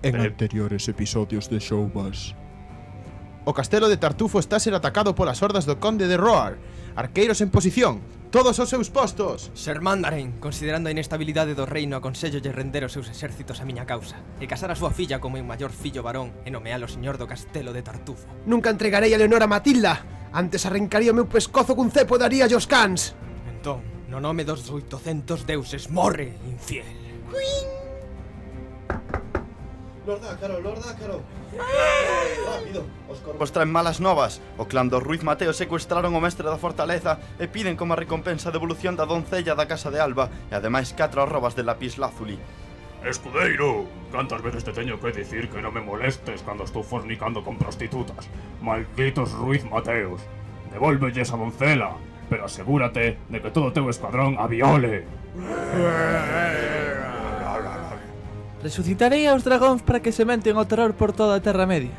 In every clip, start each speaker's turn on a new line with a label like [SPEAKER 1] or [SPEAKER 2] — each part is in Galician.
[SPEAKER 1] En anteriores episodios de Showbus.
[SPEAKER 2] O castelo de Tartufo está a ser atacado polas hordas do conde de Roar. Arqueiros en posición, todos aos seus postos.
[SPEAKER 3] Ser Mandarin, considerando a inestabilidade do reino, aconsello lle render os seus exércitos a miña causa e casar a súa filla como meu maior fillo varón e nomealo señor do castelo de Tartufo.
[SPEAKER 4] Nunca entregarei a Leonor a Matilda. Antes arrancaría o meu pescozo cun cepo e daría aos cans.
[SPEAKER 3] Entón, no nome dos 800 deuses, morre, infiel.
[SPEAKER 5] Lord Ácaro. Rápido, os corvos traen malas novas. O clan dos Ruiz Mateo secuestraron o mestre da fortaleza e piden como recompensa a devolución da doncella da casa de Alba e ademais 4 arrobas de lapislázuli.
[SPEAKER 6] Escudeiro, cantas veces te teño que dicir que non me molestes cando estou fornicando con prostitutas? Malditos Ruiz Mateos. Devólvelles a doncela, pero asegúrate de que todo o teu escuadrón a viole.
[SPEAKER 7] Resucitarei aos dragóns para que sementen o terror por toda a Terra Media.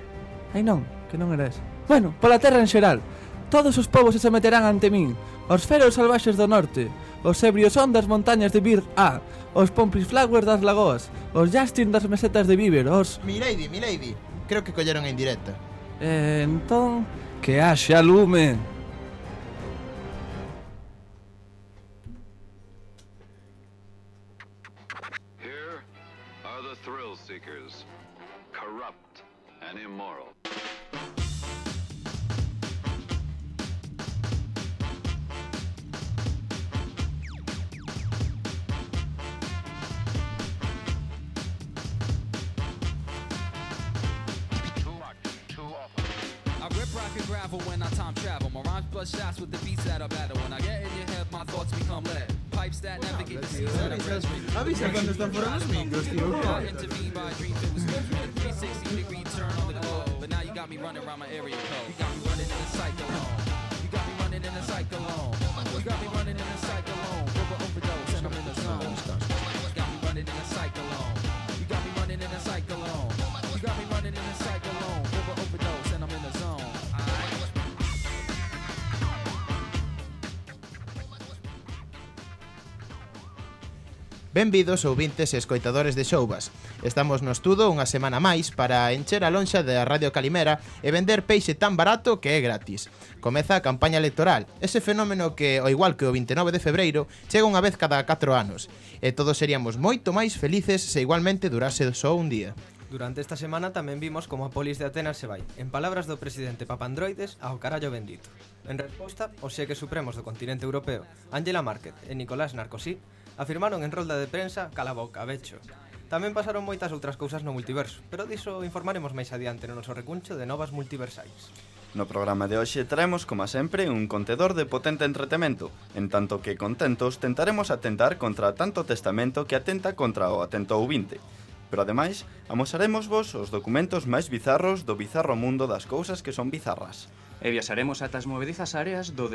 [SPEAKER 7] Ai non, que non era ese. Bueno, pola terra en xeral. Todos os povos se someterán ante min. Os feros salvaxes do norte, os ebrios son das montañas de Bir A, os pompis flowers das lagoas, os Justin das mesetas de Bieber, os...
[SPEAKER 2] Milady, creo que colleron a indirecta.
[SPEAKER 7] Entón, que haxa lume.
[SPEAKER 8] Thrill seekers, corrupt and immoral.
[SPEAKER 9] I rip rock and gravel when I time travel. My rhymes blood shots with the beats that I battle. When I get in your head, my thoughts become lead. Pipes that navigate the seas that I read.
[SPEAKER 2] Avisa cuando están fuera los micros, tío.
[SPEAKER 9] Intervene by dreams, it was good. 360-degree turn on the globe. But now you got me running around my area code. You got me running in a cyclone. You got me running in a cyclone. You got me running in a cyclone. Overdose and I'm in the zone. You got me running in a cyclone. You got me running in a cyclone. You got me running in a cyclone. Overdose and I'm in the zone.
[SPEAKER 2] Benvidos ouvintes e escoitadores de Showbus. Estamos no estudo unha semana máis para encher a lonxa da Radio Calimera e vender peixe tan barato que é gratis. Comeza a campaña electoral, ese fenómeno que, ao igual que o 29 de febreiro, chega unha vez cada 4 anos. E todos seríamos moito máis felices se igualmente durase só un día.
[SPEAKER 3] Durante esta semana tamén vimos como a polis de Atenas se vai, en palabras do presidente Papandroides, ao carallo bendito. En resposta, os xeques supremos do continente europeo, Angela Merkel e Nicolás Sarkozy, afirmaron en rolda de prensa cala boca, becho. Tamén pasaron moitas outras cousas no multiverso, pero diso informaremos máis adiante no noso recuncho de novas multiversais.
[SPEAKER 5] No programa de hoxe traemos, como sempre, un contedor de potente entretemento, en tanto que contentos tentaremos atentar contra tanto testamento que atenta contra o atento ouvinte. Pero ademais, amosaremos vos os documentos máis bizarros do bizarro mundo das cousas que son bizarras.
[SPEAKER 10] E viaxaremos ata as movedizas áreas do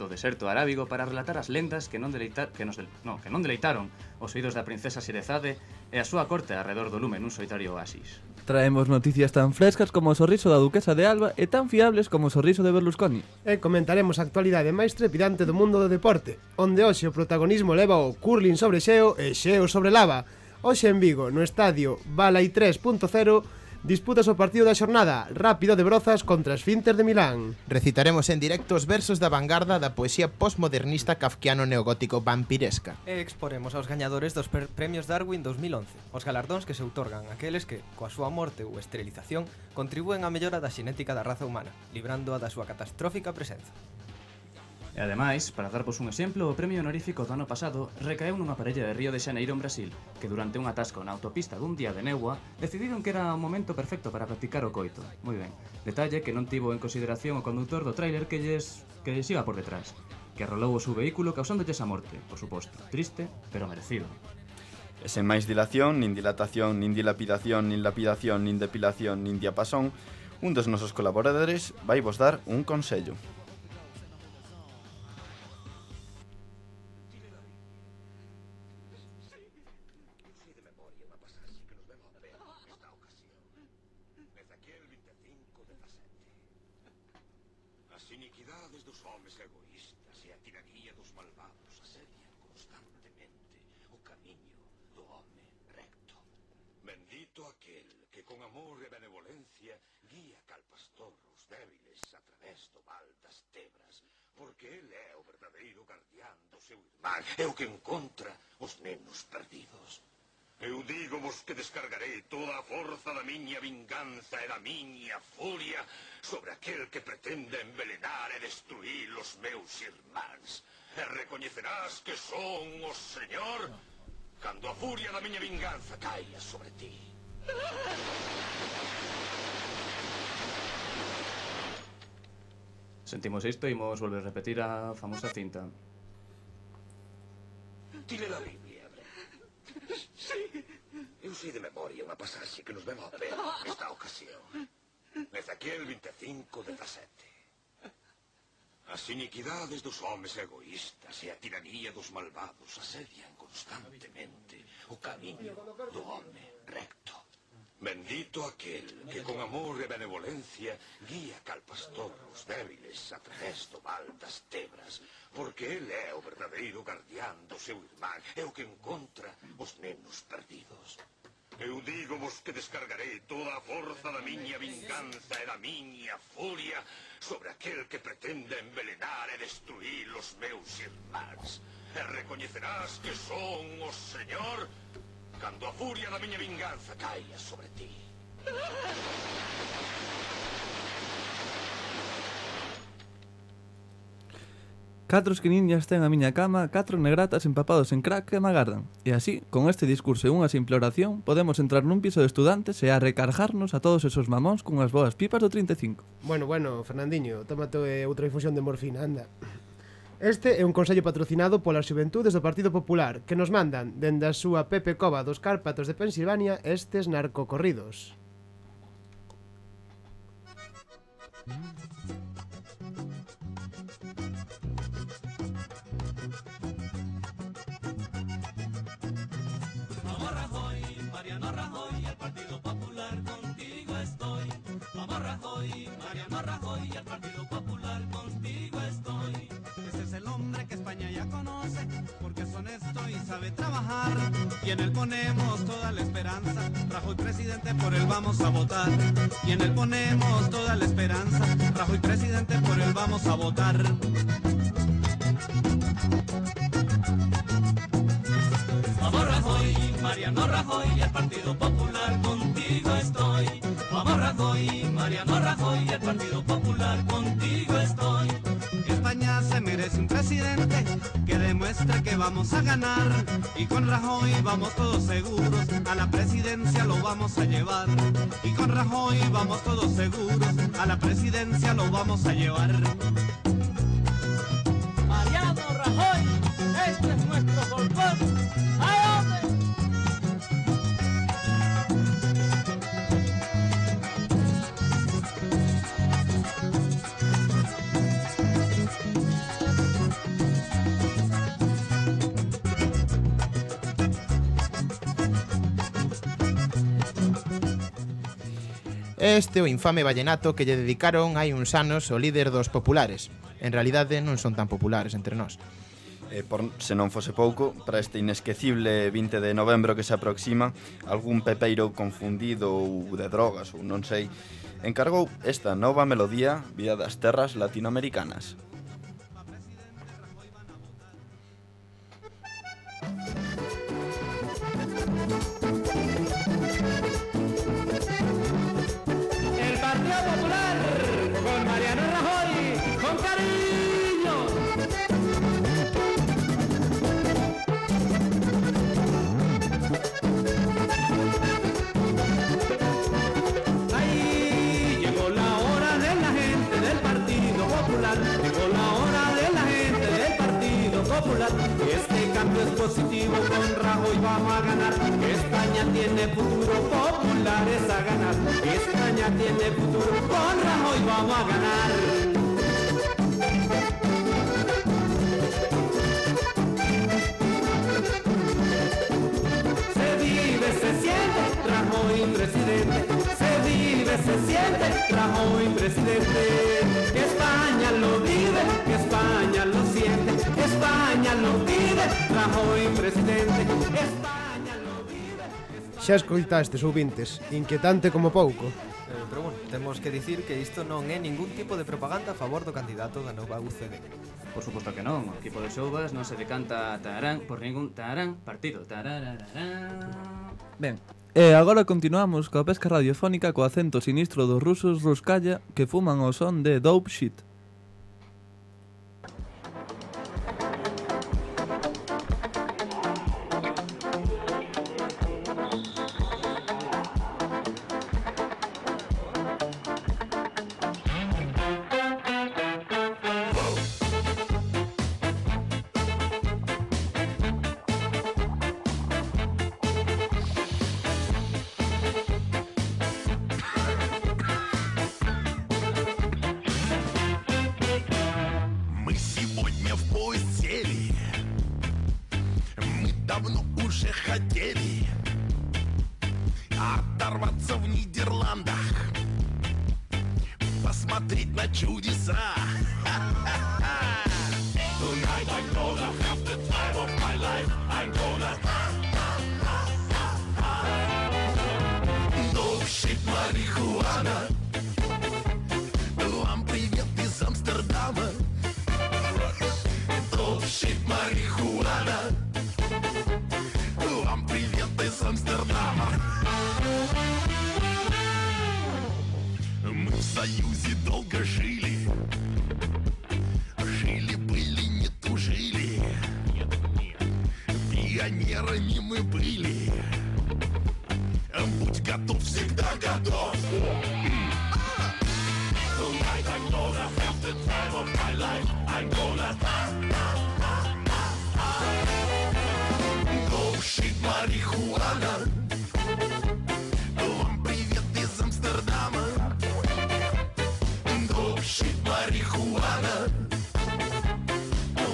[SPEAKER 10] deserto arábigo para relatar as lendas que non deleitaron os oídos da princesa Xerezade e a súa corte arredor do lume nun solitario oasis.
[SPEAKER 7] Traemos noticias tan frescas como o sorriso da duquesa de Alba e tan fiables como o sorriso de Berlusconi.
[SPEAKER 4] E comentaremos a actualidade máis trepidante do mundo do deporte, onde hoxe o protagonismo leva o curling sobre xeo e xeo sobre lava. Hoxe en Vigo, no estadio Balai 3.0, disputas o partido da xornada Rápido de Brozas contra Esfínter de Milán.
[SPEAKER 2] Recitaremos en directo os versos da vanguarda da poesía postmodernista kafkiano neogótico vampiresca.
[SPEAKER 3] E exporemos aos gañadores dos premios Darwin 2011, os galardóns que se outorgan aqueles que, coa súa morte ou esterilización, contribúen á mellora da xenética da raza humana, librándoa da súa catastrófica presenza.
[SPEAKER 10] E ademais, para darvos un exemplo, o premio honorífico do ano pasado recaeu nunha parella de Río de Xaneiro en Brasil, que durante un atasco na autopista dun día de néboa decidiron que era o momento perfecto para practicar o coito. Moi ben, detalle que non tivo en consideración o conductor do tráiler que lles iba por detrás, que arrolou o seu vehículo causándolles a morte, por suposto, triste, pero merecido.
[SPEAKER 5] E sen máis dilación, nin dilatación, nin dilapidación, nin lapidación, nin depilación, nin diapasón, un dos nosos colaboradores vai vos dar un consello.
[SPEAKER 11] As iniquidades dos homes egoístas e a tiraría dos malvados asedian constantemente o camiño do home recto. Bendito aquel con amor e benevolencia guía cal pastor os débiles a través do val das tebras, porque ele é o verdadeiro guardián do seu irmán, é o que encontra os nenos perdidos. Eu dígovos que descargarei toda a forza da miña vinganza e da miña furia sobre aquel que pretende envelenar e destruir os meus irmáns. E recoñecerás que son o Señor cando a furia da miña vinganza caia sobre ti.
[SPEAKER 10] Sentimos isto e imos volver a repetir a famosa cinta.
[SPEAKER 11] Ti le la Biblia, Bren? Sí. Eu sei de memoria unha pasaxe que nos ven ao pé nesta ocasión. Ezequiel 25:17. As iniquidades dos homes egoístas e a tiranía dos malvados asedian constantemente o camiño do home recto. Bendito aquel que con amor e benevolencia guía cal pastor os débiles a través do val das tebras, porque ele é o verdadeiro guardián do seu irmán, é o que encontra os nenos perdidos. Eu dígovos que descargarei toda a forza da miña vinganza e da miña furia sobre aquel que pretende envelenar e destruir os meus irmáns. E recoñecerás que son o Señor cando a furia da miña vinganza caia sobre ti.
[SPEAKER 7] Catro esquiniñas ten a miña cama, 4 negratas empapados en crack que me agardan. E así, con este discurso e unha simple oración, podemos entrar nun piso de estudantes e a recargarnos a todos esos mamóns cunhas boas pipas do 35.
[SPEAKER 4] Bueno, Fernandinho, tómate outra infusión de morfina, anda. Este é un consello patrocinado polas xuventudes do Partido Popular que nos mandan, dende a súa Pepe Cova dos Cárpatos de Pensilvania, estes narcocorridos.
[SPEAKER 12] Vamos Rajoy, Mariano Rajoy, el Partido Popular contigo estoy. Vamos Rajoy, Mariano Rajoy, el Partido Popular contigo estoy. Ese es el hombre que España ya conoce, porque es honesto y sabe trabajar. Y en él ponemos toda la esperanza. Rajoy presidente, por él vamos a votar. Y en él ponemos toda la esperanza. Rajoy presidente, por él vamos a votar. Vamos Rajoy, Mariano Rajoy, el Partido Popular contigo estoy. Vamos Rajoy, Mariano Rajoy, el Partido Popular contigo estoy. España se merece un presidente que demuestre que vamos a ganar. Y con Rajoy vamos todos seguros, a la presidencia lo vamos a llevar. Y con Rajoy vamos todos seguros, a la presidencia lo vamos a llevar. Mariano Rajoy, este es nuestro folclor. ¡Ay, hombre!
[SPEAKER 2] Este é o infame vallenato que lle dedicaron hai uns anos o líder dos populares. En realidade non son tan populares entre nós.
[SPEAKER 5] Se non fose pouco, para este inesquecible 20 de novembro que se aproxima, algún pepeiro confundido ou de drogas ou non sei, encargou esta nova melodía vía das terras latinoamericanas.
[SPEAKER 12] El Partido Popular con Mariano Rajoy, con cariño. Ahí llegó la hora de la gente del Partido Popular, llegó la hora de la gente del Partido Popular. Este cambio es positivo, con Rajoy vamos a ganar. España tiene futuro, populares a ganar. España tiene futuro, con Rajoy vamos a ganar. Se vive, se siente, Rajoy presidente. Se vive, se siente, Rajoy presidente. Que España lo vive, que España lo siente. Que España lo vive, Rajoy presidente. España lo vive.
[SPEAKER 4] Xa escoitastes, ouvintes, inquietante como pouco.
[SPEAKER 3] Pero bueno, temos que dicir que isto non é ningún tipo de propaganda a favor do candidato da nova UCD.
[SPEAKER 10] Por suposto que non, o equipo de Showbas non se decanta tarán por ningún tarán partido. Tararararán.
[SPEAKER 7] Ben, e agora continuamos coa pesca radiofónica co acento sinistro dos rusos Ruskaya que fuman o son de Dope Shit.
[SPEAKER 13] Мы сегодня в поезд сели. Мы давно уже хотели оторваться в Нидерландах, посмотреть на чудеса. Tonight I'm gonna have the time of my life. I'm gonna no shit, марихуана. Вам привет из Амстердама. No shit, марихуана. Вам привет из Амстердама. Мы в Союзе долго жили. Жили-были, не тужили. Пионерами мы были. Будь готов, всегда готов. Tonight I'm gonna have the time of my life. I'm gonna no shit, марихуана. Вам привет из Амстердама. No shit, марихуана.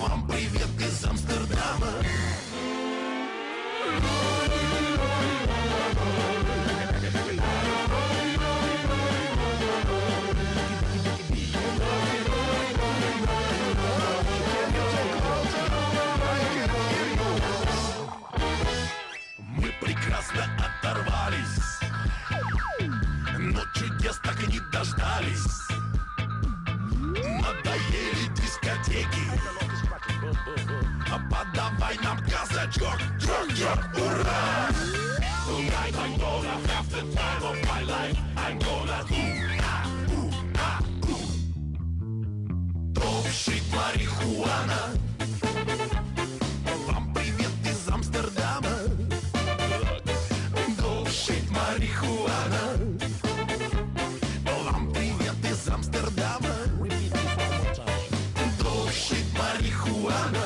[SPEAKER 13] Вам привет из Амстердама. Мы прекрасно оторвались, но чудес так и не дождались. Надоели дискотеки, подавай нам казачок, ура! Tonight I'm gonna have the time of my life. I'm gonna Dope shit, марихуана. Вам привет из Амстердама. Dope shit, марихуана. Вам привет из Амстердама. Dope shit, марихуана.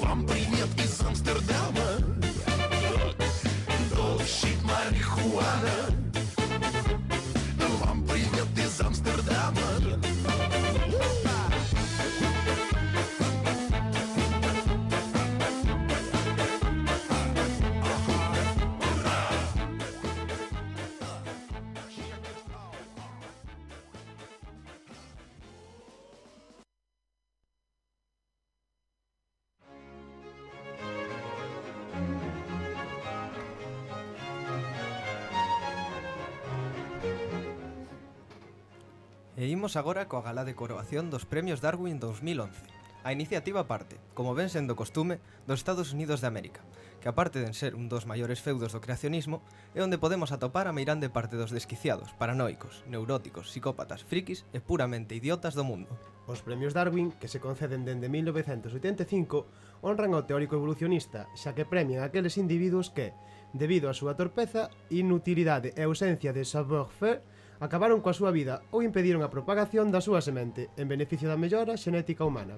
[SPEAKER 13] Вам привет из Амстердама. Dope shit, марихуана. Вам привет из Амстердама.
[SPEAKER 3] E imos agora coa gala de coroación dos Premios Darwin 2011. A iniciativa parte, como ven sendo costume, dos Estados Unidos de América, que aparte de ser un dos maiores feudos do creacionismo, é onde podemos atopar a meirande parte dos desquiciados, paranoicos, neuróticos, psicópatas, frikis e puramente idiotas do mundo.
[SPEAKER 4] Os Premios Darwin, que se conceden dende 1985, honran ao teórico evolucionista, xa que premian aqueles individuos que, debido á súa torpeza, inutilidade e ausencia de savoir-faire, acabaron coa súa vida ou impediron a propagación da súa semente en beneficio da mellora xenética humana.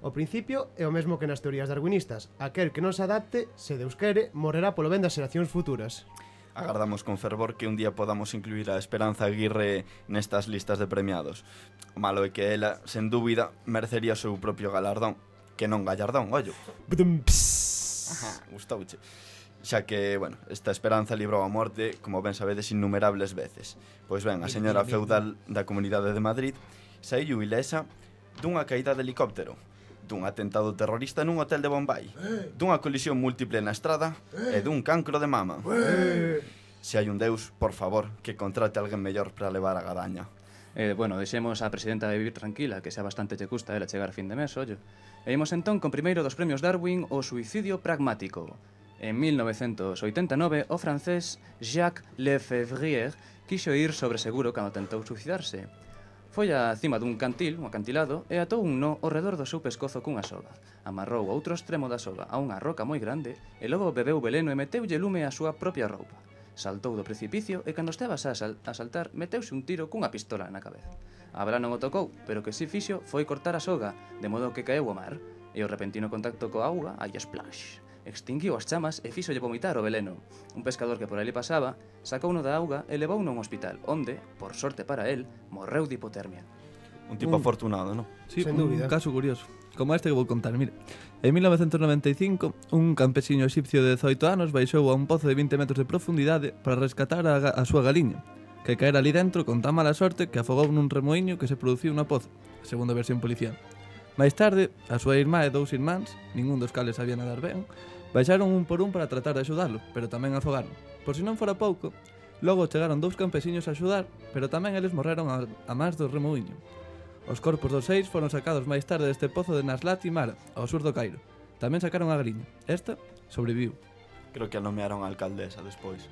[SPEAKER 4] O principio é o mesmo que nas teorías darwinistas. Aquel que non se adapte, se Deus quere, morrerá polo ben das xeracións futuras.
[SPEAKER 5] Agardamos con fervor que un día podamos incluir a Esperanza Aguirre nestas listas de premiados. O malo é que ela, sen dúbida, merecería o seu propio galardón. Que non gallardón, ollo. Gustouche. Xa que, bueno, esta Esperanza librou a morte, como ben sabedes, innumerables veces. Pois ben, a señora feudal da Comunidade de Madrid saíu ilesa dunha caída de helicóptero. dun atentado terrorista nun hotel de Bombay, dunha colisión múltiple na estrada e dun cancro de mama. Se hai un deus, por favor, que contrate alguén mellor para levar a gadaña.
[SPEAKER 10] Bueno, deixemos a presidenta de vivir tranquila, que xa bastante che custa ela chegar a fin de mes, ollo. E imos entón con primeiro dos premios Darwin, o suicidio pragmático. En 1989, o francés Jacques Lefebvre quixo ir sobre seguro cando tentou suicidarse. Foi a cima dun cantil, un acantilado, e atou un nó ao redor do seu pescozo cunha soga. Amarrou o outro extremo da soga a unha roca moi grande e logo bebeu veleno e meteulle lume á súa propia roupa. Saltou do precipicio e cando estaba a saltar meteuse un tiro cunha pistola na cabeza. A bala non o tocou, pero que si fixo foi cortar a soga, de modo que caeu ao mar, e o repentino contacto coa auga, aí splash, extinguiu as chamas e fíxolle vomitar o veleno. Un pescador que por ali pasaba sacouno da auga e levouno a un hospital, onde, por sorte para él, morreu de hipotermia.
[SPEAKER 5] Un tipo afortunado, non?
[SPEAKER 7] Sí, un caso curioso, como este que vou contar, mire. En 1995, un campesiño exipcio de 18 anos baixou a un pozo de 20 metros de profundidade para rescatar a súa galiña, que caera ali dentro con tan mala sorte que afogou nun remoinho que se produciu na poza, segundo a versión policial. Mais tarde, a súa irmá e 2 irmáns, ningún dos cales sabía nadar ben, baixaron un por un para tratar de axudalo, pero tamén afogaron. Por si non fora pouco, logo chegaron 2 campesiños a axudar, pero tamén eles morreron a máis do remoinho. Os corpos dos 6 foron sacados máis tarde deste pozo de Naslat y Mara, ao sur do Cairo. Tamén sacaron a galiña. Esta sobreviviu.
[SPEAKER 5] Creo que a nomearon a alcaldesa despois.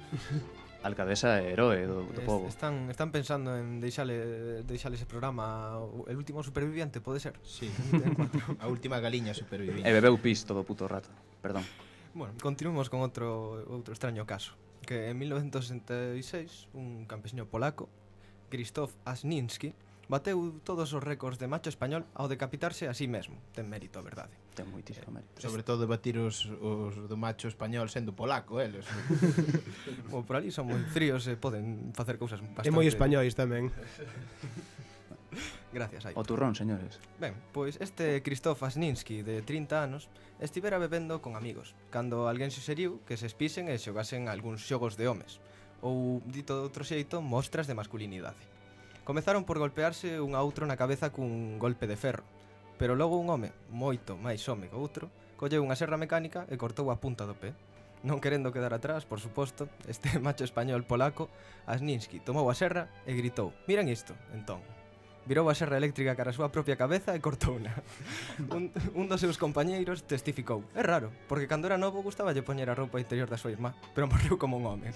[SPEAKER 10] Alcaldesa e heroe do povo.
[SPEAKER 3] Están pensando en deixale ese programa El último superviviente, pode ser?
[SPEAKER 2] Sí, a última galiña superviviente.
[SPEAKER 10] E bebeu pis todo o puto rato, perdón.
[SPEAKER 3] Bueno, continuemos con outro extraño caso. Que en 1966, un campesiño polaco, Krzysztof Asninski, bateu todos os récords de macho español ao decapitarse a sí mesmo. Ten mérito, a verdade.
[SPEAKER 10] Ten moitísimo mérito.
[SPEAKER 2] Sobre todo batir os do macho español sendo polaco, eles.
[SPEAKER 3] Como por ali son moi fríos e poden facer cousas bastante...
[SPEAKER 4] E moi españois tamén.
[SPEAKER 3] Gracias, aí.
[SPEAKER 10] O turrón, señores.
[SPEAKER 3] Ben, pois este Krzysztof Asninski, de 30 anos, estivera bebendo con amigos, cando alguén suxeriu que se espisen e xogasen algúns xogos de homes, ou, dito de outro xeito, mostras de masculinidade. Comezaron por golpearse un a outro na cabeza cun golpe de ferro, pero logo un home, moito máis home que outro, colleu unha serra mecánica e cortou a punta do pé. Non querendo quedar atrás, por suposto, este macho español polaco, Asninski, tomou a serra e gritou: "Miren isto", entón. Virou a serra eléctrica cara a súa propia cabeza e cortouna. Un dos seus compañeiros testificou: "É raro, porque cando era novo gustaballe poñer a roupa interior da súa irmá, pero morreu como un home".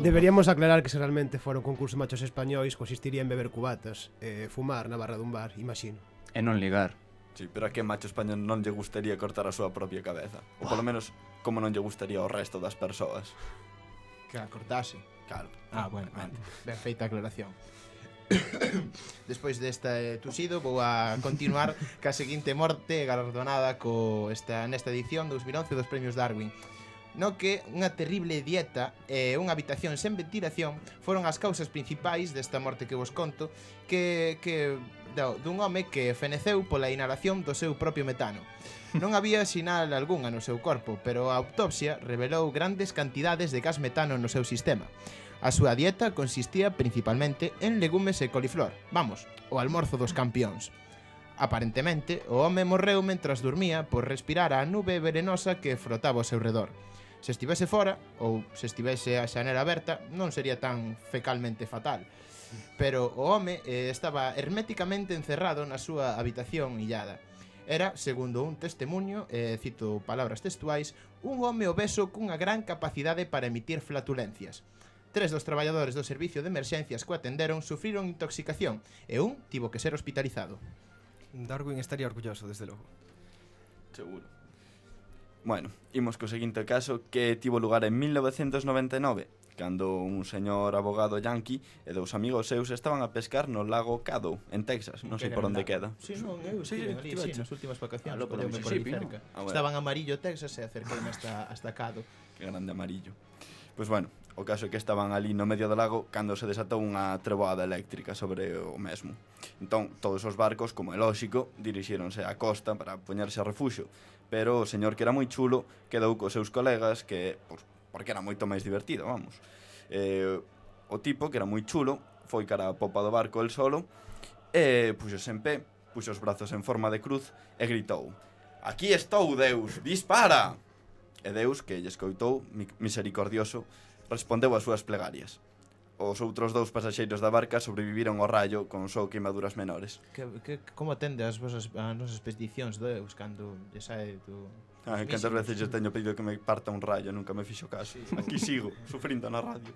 [SPEAKER 4] Deberíamos aclarar que se realmente fora un concurso de machos españois consistiría en beber cubatas e fumar na barra dun bar, imagino.
[SPEAKER 10] E non ligar.
[SPEAKER 5] Sí, pero a que macho español non lle gustaría cortar a súa propia cabeza? Ou polo menos, como non lle gustaría ao resto das persoas?
[SPEAKER 2] Que a cortase.
[SPEAKER 5] Claro.
[SPEAKER 2] Bueno, ben feita a aclaración. Despois desta tusido vou a continuar ca seguinte morte galardonada nesta edición 2011 dos premios Darwin, no que unha terrible dieta e unha habitación sen ventilación foron as causas principais desta morte que vos conto, dun home que feneceu pola inhalación do seu propio metano. Non había sinal algunha no seu corpo, pero a autopsia revelou grandes cantidades de gas metano no seu sistema. A súa dieta consistía principalmente en legumes e coliflor. Vamos, o almorzo dos campións. Aparentemente, o home morreu mentras dormía por respirar a nube venenosa que frotaba ao seu redor. Se estivese fora, ou se estivese a xanela aberta, non sería tan fecalmente fatal. Pero o home estaba herméticamente encerrado na súa habitación illada. Era, segundo un testemunho, cito palabras textuais, un home obeso cunha gran capacidade para emitir flatulencias. 3 dos traballadores do servicio de emerxencias que o atenderon sufriron intoxicación e un tivo que ser hospitalizado.
[SPEAKER 3] Darwin estaría orgulloso, desde logo.
[SPEAKER 5] Seguro. Bueno, imos co seguinte caso que tivo lugar en 1999, cando un señor abogado yanqui e 2 amigos seus estaban a pescar no lago Caddo, en Texas, non sei por onde queda.
[SPEAKER 2] Sí, non, eu estive ali, nas últimas vacacións,
[SPEAKER 5] por
[SPEAKER 2] Mississippi, cerca. Estaban Amarillo, Texas, e acerqueime hasta Caddo.
[SPEAKER 5] Que grande Amarillo. Pois bueno, o caso é que estaban ali no medio do lago cando se desatou unha treboada eléctrica sobre o mesmo. Entón, todos os barcos, como é lóxico, dirixíronse á costa para poñerse a refuxo, pero o señor que era moi chulo quedou cos seus colegas que, porque era moito máis divertido, vamos. O tipo, que era moi chulo, foi cara a popa do barco el solo e puxose en pé puxo os brazos en forma de cruz e gritou: "Aquí estou, Deus, dispara!" E Deus, que lle escoitou, misericordioso, respondeu ás súas plegarias. Os outros 2 pasaxeiros da barca sobreviviron ao raio con só queimaduras menores.
[SPEAKER 2] Como atende as nosas expedicións, Deus, cando lle sae do...
[SPEAKER 5] Cantas veces lle teño pedido que me parta un rayo, nunca me fixo caso. Aquí sigo, sufrindo na radio.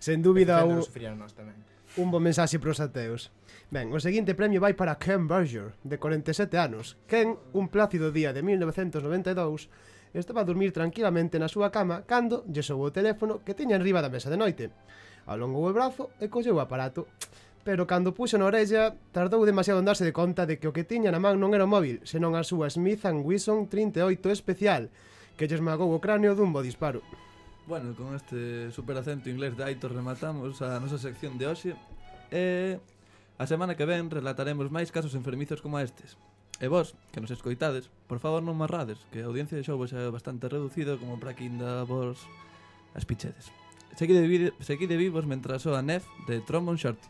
[SPEAKER 4] Sen dúbida
[SPEAKER 2] un
[SPEAKER 4] bo mensaxe pros ateos. Ben, o seguinte premio vai para Ken Berger, de 47 anos. Ken, un plácido día de 1992, estaba a dormir tranquilamente na súa cama cando lle soou o teléfono que tiña enriba da mesa de noite. Alongou o brazo e colleu o aparato, pero cando puxo na orella tardou demasiado en darse de conta de que o que tiña na man non era o móvil, senón a súa Smith & Wesson 38 especial, que lle esmagou o cráneo dun bo disparo.
[SPEAKER 7] Bueno, con este super acento inglés de Aitor rematamos a nosa sección de hoxe e a semana que ven relataremos máis casos enfermizos como estes. E vos, que nos escoitades, por favor non marrades, que a audiencia de Showbox é bastante reducida como para que ainda vos as pichedes. Seguide vivos mentras soa Nef de Trombone Shorty.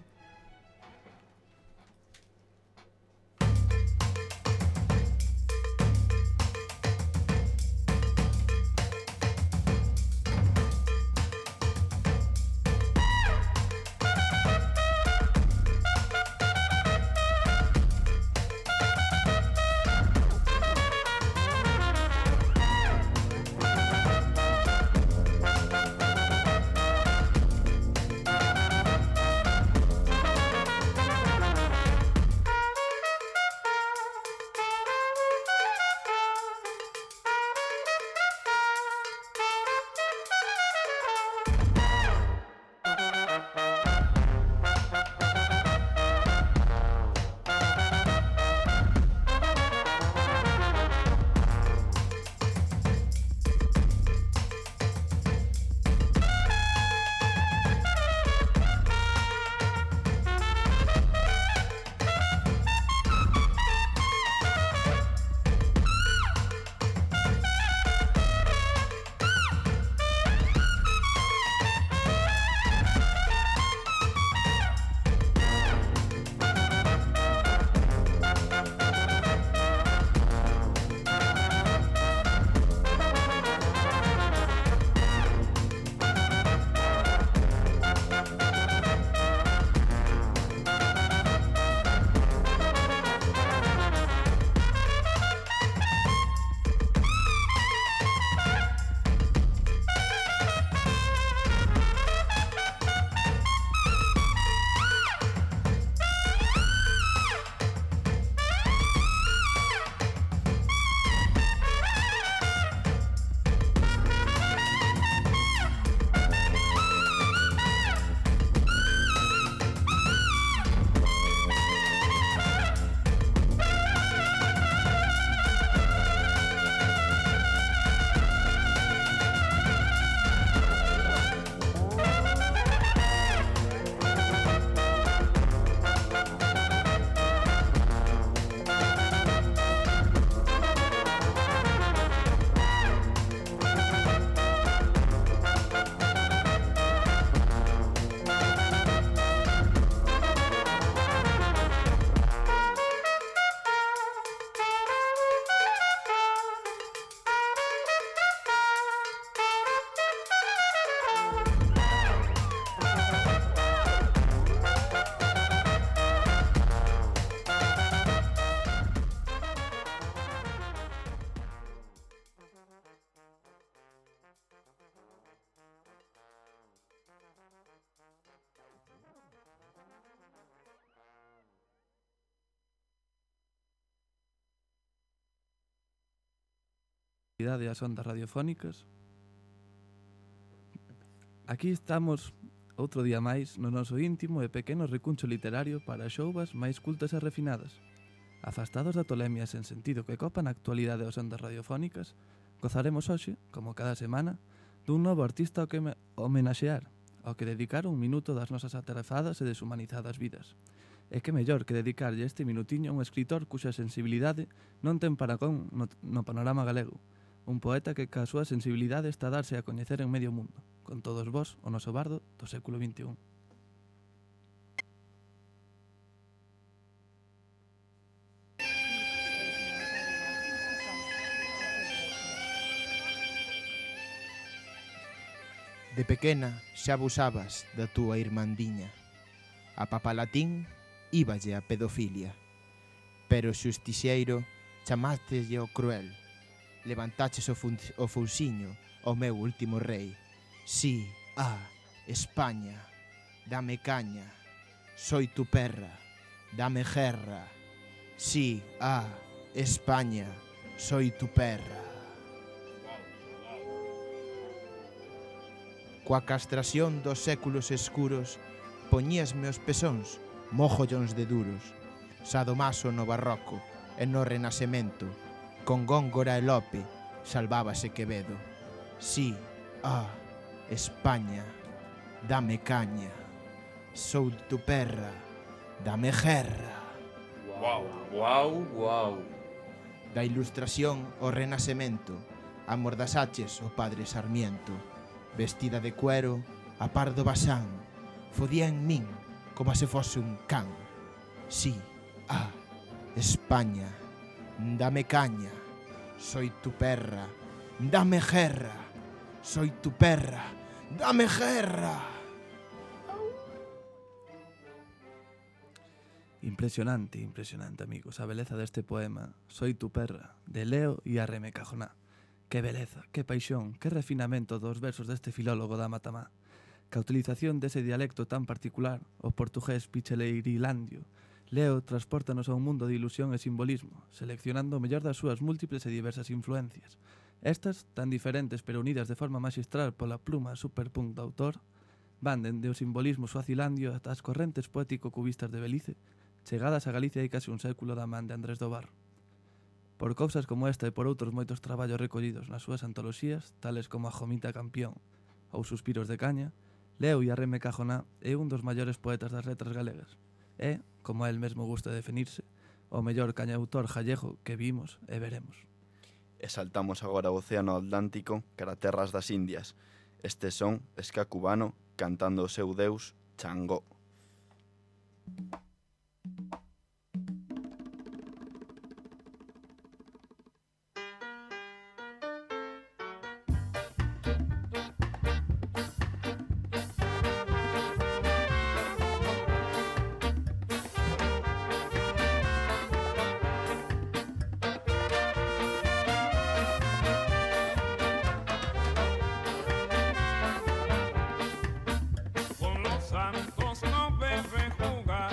[SPEAKER 7] As ondas radiofónicas. Aquí estamos outro día máis no noso íntimo e pequeno recuncho literario para xouvas máis cultas e refinadas. Afastados da tolemia sen sentido que copan a actualidade das ondas radiofónicas, gozaremos hoxe, como cada semana, dun novo artista ao que homenaxear, ao que dedicar un minuto das nosas atarefadas e deshumanizadas vidas. E que mellor que dedicarlle este minutiño a un escritor cuxa sensibilidade non ten paragón no panorama galego. Un poeta que ca súa sensibilidade está a darse a coñecer en medio mundo. Con todos vós, o noso bardo do século XXI.
[SPEAKER 2] De pequena xa abusabas da túa irmandiña. A papalatín íballe a pedofilia. Pero o xustixeiro chamáteslle o cruel. Levantaches o fousiño ao meu último rei. Sí, España, dame caña. Soy tu perra, dame guerra. Sí, España, soy tu perra. Coa castración dos séculos escuros, poñíasme os pezóns mogollóns de duros. Sadomaso no barroco e no renacemento, con Góngora e Lope salvábase Quevedo. Sí, España, dame caña. Sou tu perra, dame guerra.
[SPEAKER 5] Wow.
[SPEAKER 2] Da Ilustración ao Renacemento, amordasaches o padre Sarmiento. Vestida de cuero, a par do basán, fodía en min como se fose un can. Sí, España, dame caña. Soy tu perra, dame guerra. Soy tu perra, dame guerra.
[SPEAKER 7] Impresionante, amigos, a beleza deste poema Soy tu perra, de Leo e Arreme Cajoná. Que beleza, que paixón, que refinamento dos versos deste filólogo da Matamá. Que a utilización dese dialecto tan particular, o portugués picheleirilandio, Leo transpórtanos a un mundo de ilusión e simbolismo, seleccionando o mellor das súas múltiples e diversas influencias. Estas, tan diferentes pero unidas de forma magistral pola pluma superpunk do autor, van dende o simbolismo suazilandio ata as correntes poético-cubistas de Belize, chegadas a Galicia hai case un século da man de Andrés do Barro. Por cousas como esta e por outros moitos traballos recollidos nas súas antoloxías, tales como a Jomita Campión ou Suspiros de Caña, Leo e Arreme Cajoná é un dos maiores poetas das letras galegas. É, como a el mesmo gusta definirse, o mellor cañautor gallego que vimos e veremos.
[SPEAKER 5] E saltamos agora ao Océano Atlántico cara terras das Indias. Este son ska cubano cantando o seu deus Changó.
[SPEAKER 13] Con los santos no debe jugar.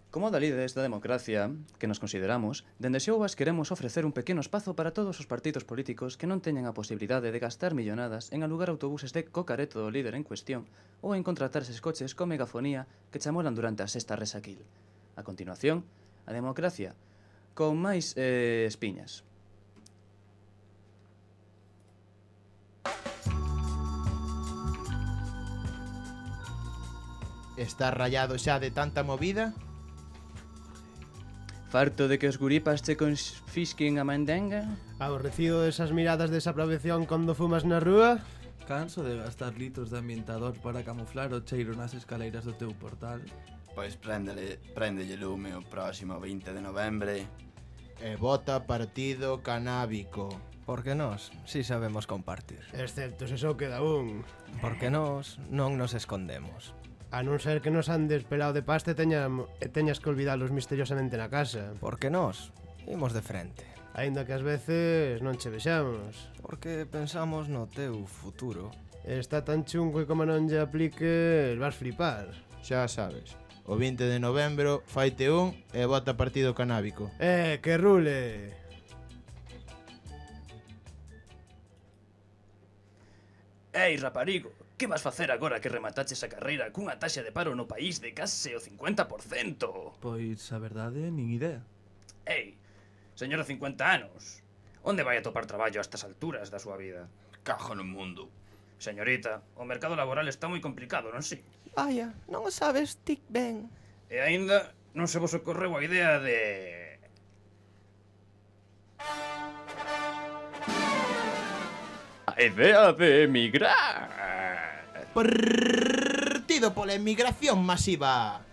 [SPEAKER 10] Como da líderes da democracia que nos consideramos, dende Xouvas queremos ofrecer un pequeno espazo para todos os partidos políticos que non teñen a posibilidade de gastar millonadas en alugar autobuses de cocareto do líder en cuestión ou en contratar eses coches con megafonía que chamolan durante a sexta resaquil. A continuación, a democracia con máis espiñas.
[SPEAKER 2] Está rayado xa de tanta movida?
[SPEAKER 10] Farto de que os guripas che confisquen a mandenga?
[SPEAKER 4] Aborrecido desas miradas de desaprobación cando fumas na rúa?
[SPEAKER 7] Canso de gastar litros de ambientador para camuflar o cheiro nas escaleiras do teu portal.
[SPEAKER 5] Pois préndelle lume o próximo 20 de novembre.
[SPEAKER 2] E vota partido canábico.
[SPEAKER 3] Porque nós si sabemos compartir.
[SPEAKER 4] Excepto se só queda un.
[SPEAKER 3] Porque nós non nos escondemos.
[SPEAKER 4] A non ser que nos andes pelado de pasta e teñas que olvidalos misteriosamente na casa.
[SPEAKER 3] Porque nós imos de frente.
[SPEAKER 4] Aínda que ás veces non che vexamos.
[SPEAKER 3] Porque pensamos no teu futuro.
[SPEAKER 4] Está tan chungo que como non lle apliques vas flipar.
[SPEAKER 2] Xa sabes, o 20 de novembro faite un e vota partido canábico.
[SPEAKER 4] Que rule!
[SPEAKER 10] Ei, raparigo, que vas facer agora que remataches a carreira cunha taxa de paro no país de case o 50%?
[SPEAKER 7] Pois, a verdade, nin idea.
[SPEAKER 10] Ei, señora 50 anos, onde vai a topar traballo a estas alturas da súa vida?
[SPEAKER 5] Cajo no mundo.
[SPEAKER 10] Señorita, o mercado laboral está moi complicado, non si?
[SPEAKER 3] Vaya, non o sabes tic ben.
[SPEAKER 10] E aínda non se vos ocorreu a idea de... A idea de emigrar.
[SPEAKER 2] Partido pola emigración masiva.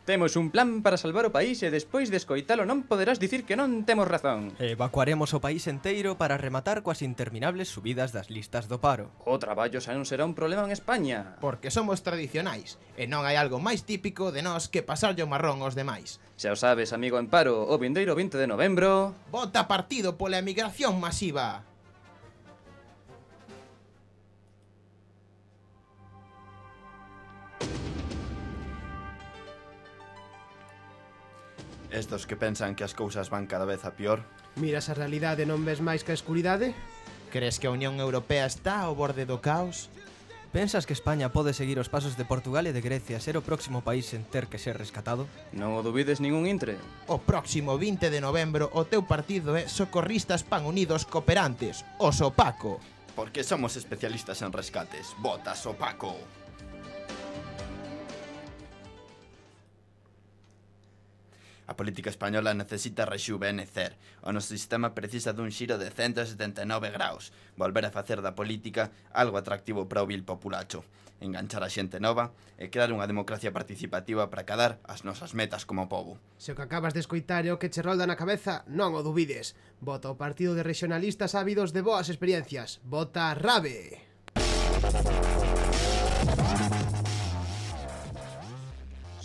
[SPEAKER 10] Temos un plan para salvar o país e despois de escoitalo non poderás dicir que non temos razón.
[SPEAKER 3] Evacuaremos o país enteiro para rematar coas interminables subidas das listas do paro.
[SPEAKER 10] O traballo xa non será un problema en España.
[SPEAKER 2] Porque somos tradicionais e non hai algo máis típico de nós que pasarlle o marrón aos demais.
[SPEAKER 10] Xa o sabes, amigo en paro, o vindeiro 20 de novembro...
[SPEAKER 2] Vota partido pola emigración masiva.
[SPEAKER 5] Estos que pensan que as cousas van cada vez a pior.
[SPEAKER 4] Miras a realidade e non ves máis que a escuridade?
[SPEAKER 2] Crees que a Unión Europea está ao borde do caos?
[SPEAKER 3] Pensas que España pode seguir os pasos de Portugal e de Grecia ser o próximo país en ter que ser rescatado?
[SPEAKER 10] Non o dubides ningún intre.
[SPEAKER 2] O próximo 20 de novembro o teu partido é Socorristas Pan Unidos Cooperantes, o Sopaco.
[SPEAKER 5] Porque somos especialistas en rescates. Vota Sopaco. A política española necesita rexuvenecer. O noso sistema precisa dun xiro de 179 graus. Volver a facer da política algo atractivo para o vil populacho. Enganchar a xente nova e crear unha democracia participativa para cadar as nosas metas como pobo.
[SPEAKER 4] Se o que acabas de escoitar é o que che rolda na cabeza, non o dubides. Vota o partido de regionalistas ávidos de boas experiencias. Vota RABE!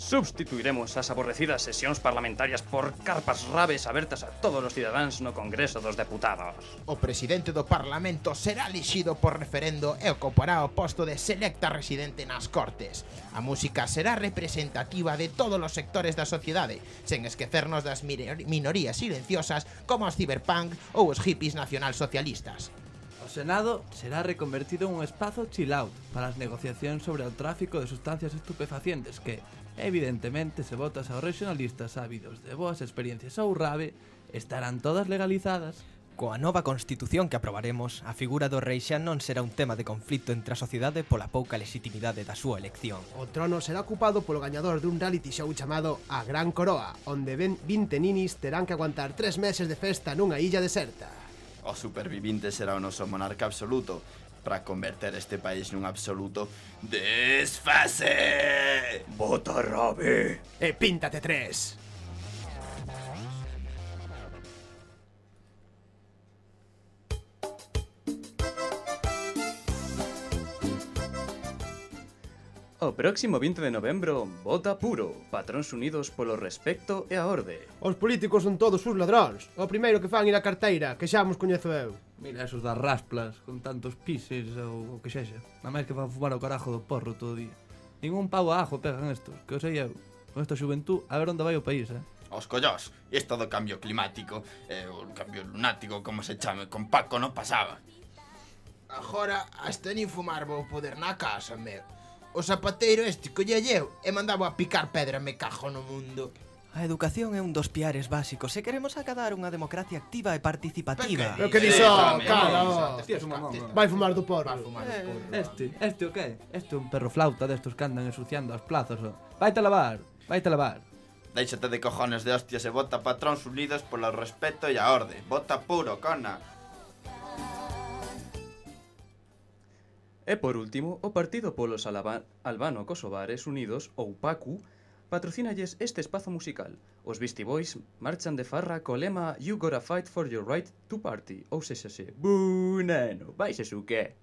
[SPEAKER 10] Substituiremos as aborrecidas sesións parlamentarias por carpas rabes abertas a todos os cidadáns no Congreso dos Deputados.
[SPEAKER 2] O presidente do Parlamento será elixido por referendo e ocupará o posto de selecta residente nas Cortes. A música será representativa de todos os sectores da sociedade, sen esquecernos das minorías silenciosas como os ciberpunk ou os hippies nacionalsocialistas.
[SPEAKER 7] O Senado será reconvertido en un espazo chill out para as negociacións sobre o tráfico de sustancias estupefacientes que, evidentemente, se votas aos regionalistas ávidos de boas experiencias ou RABE, estarán todas legalizadas.
[SPEAKER 3] Coa nova constitución que aprobaremos, a figura do rei xa non será un tema de conflito entre a sociedade pola pouca legitimidade da súa elección.
[SPEAKER 4] O trono será ocupado polo gañador dun reality show chamado A Gran Coroa, onde 20 ninis terán que aguantar 3 meses de festa nunha illa deserta.
[SPEAKER 5] O supervivinte será o noso monarca absoluto para converter este país nun absoluto desfase.
[SPEAKER 10] Vota RABE.
[SPEAKER 4] E píntate 3.
[SPEAKER 10] O próximo 20 de novembro, vota puro, patróns unidos polo respecto e a orde.
[SPEAKER 4] Os políticos son todos os ladróns. O primeiro que fan ir á carteira, que xa mos coñezo eu.
[SPEAKER 7] Mira esos das rasplas, con tantos pises ou o que sexa. Na máis que van fumar o carajo do porro todo o día. Ningún pavo a ajo pegan estos, que o sei eu. Con esta xuventud, a ver onde vai o país,
[SPEAKER 5] Os collós, isto do cambio climático, o cambio lunático, como se chame, con Paco non pasaba.
[SPEAKER 2] Agora, hasta nin fumar vou poder na casa, meu. O zapateiro este collelleu e mandaba a picar pedra, me cajo no mundo.
[SPEAKER 3] A educación é un dos piares básicos se queremos acadar unha democracia activa e participativa.
[SPEAKER 4] Pero que dixo, cara, vai fumar do porro.
[SPEAKER 7] Este o que? Este é un perro flauta destos que andan ensuciando as plazas. Vaite a lavar.
[SPEAKER 5] Déixate de cojones de hostias e vota patróns unidos polo respeto e a orde. Vota puro, cona.
[SPEAKER 10] E por último, o Partido Polos Albano-Kosovares Unidos, ou PACU, patrocínalles este espazo musical. Os Beastie Boys marchan de farra co lema You gotta fight for your right to party. Ou sexase, buu, neno, vais eso que?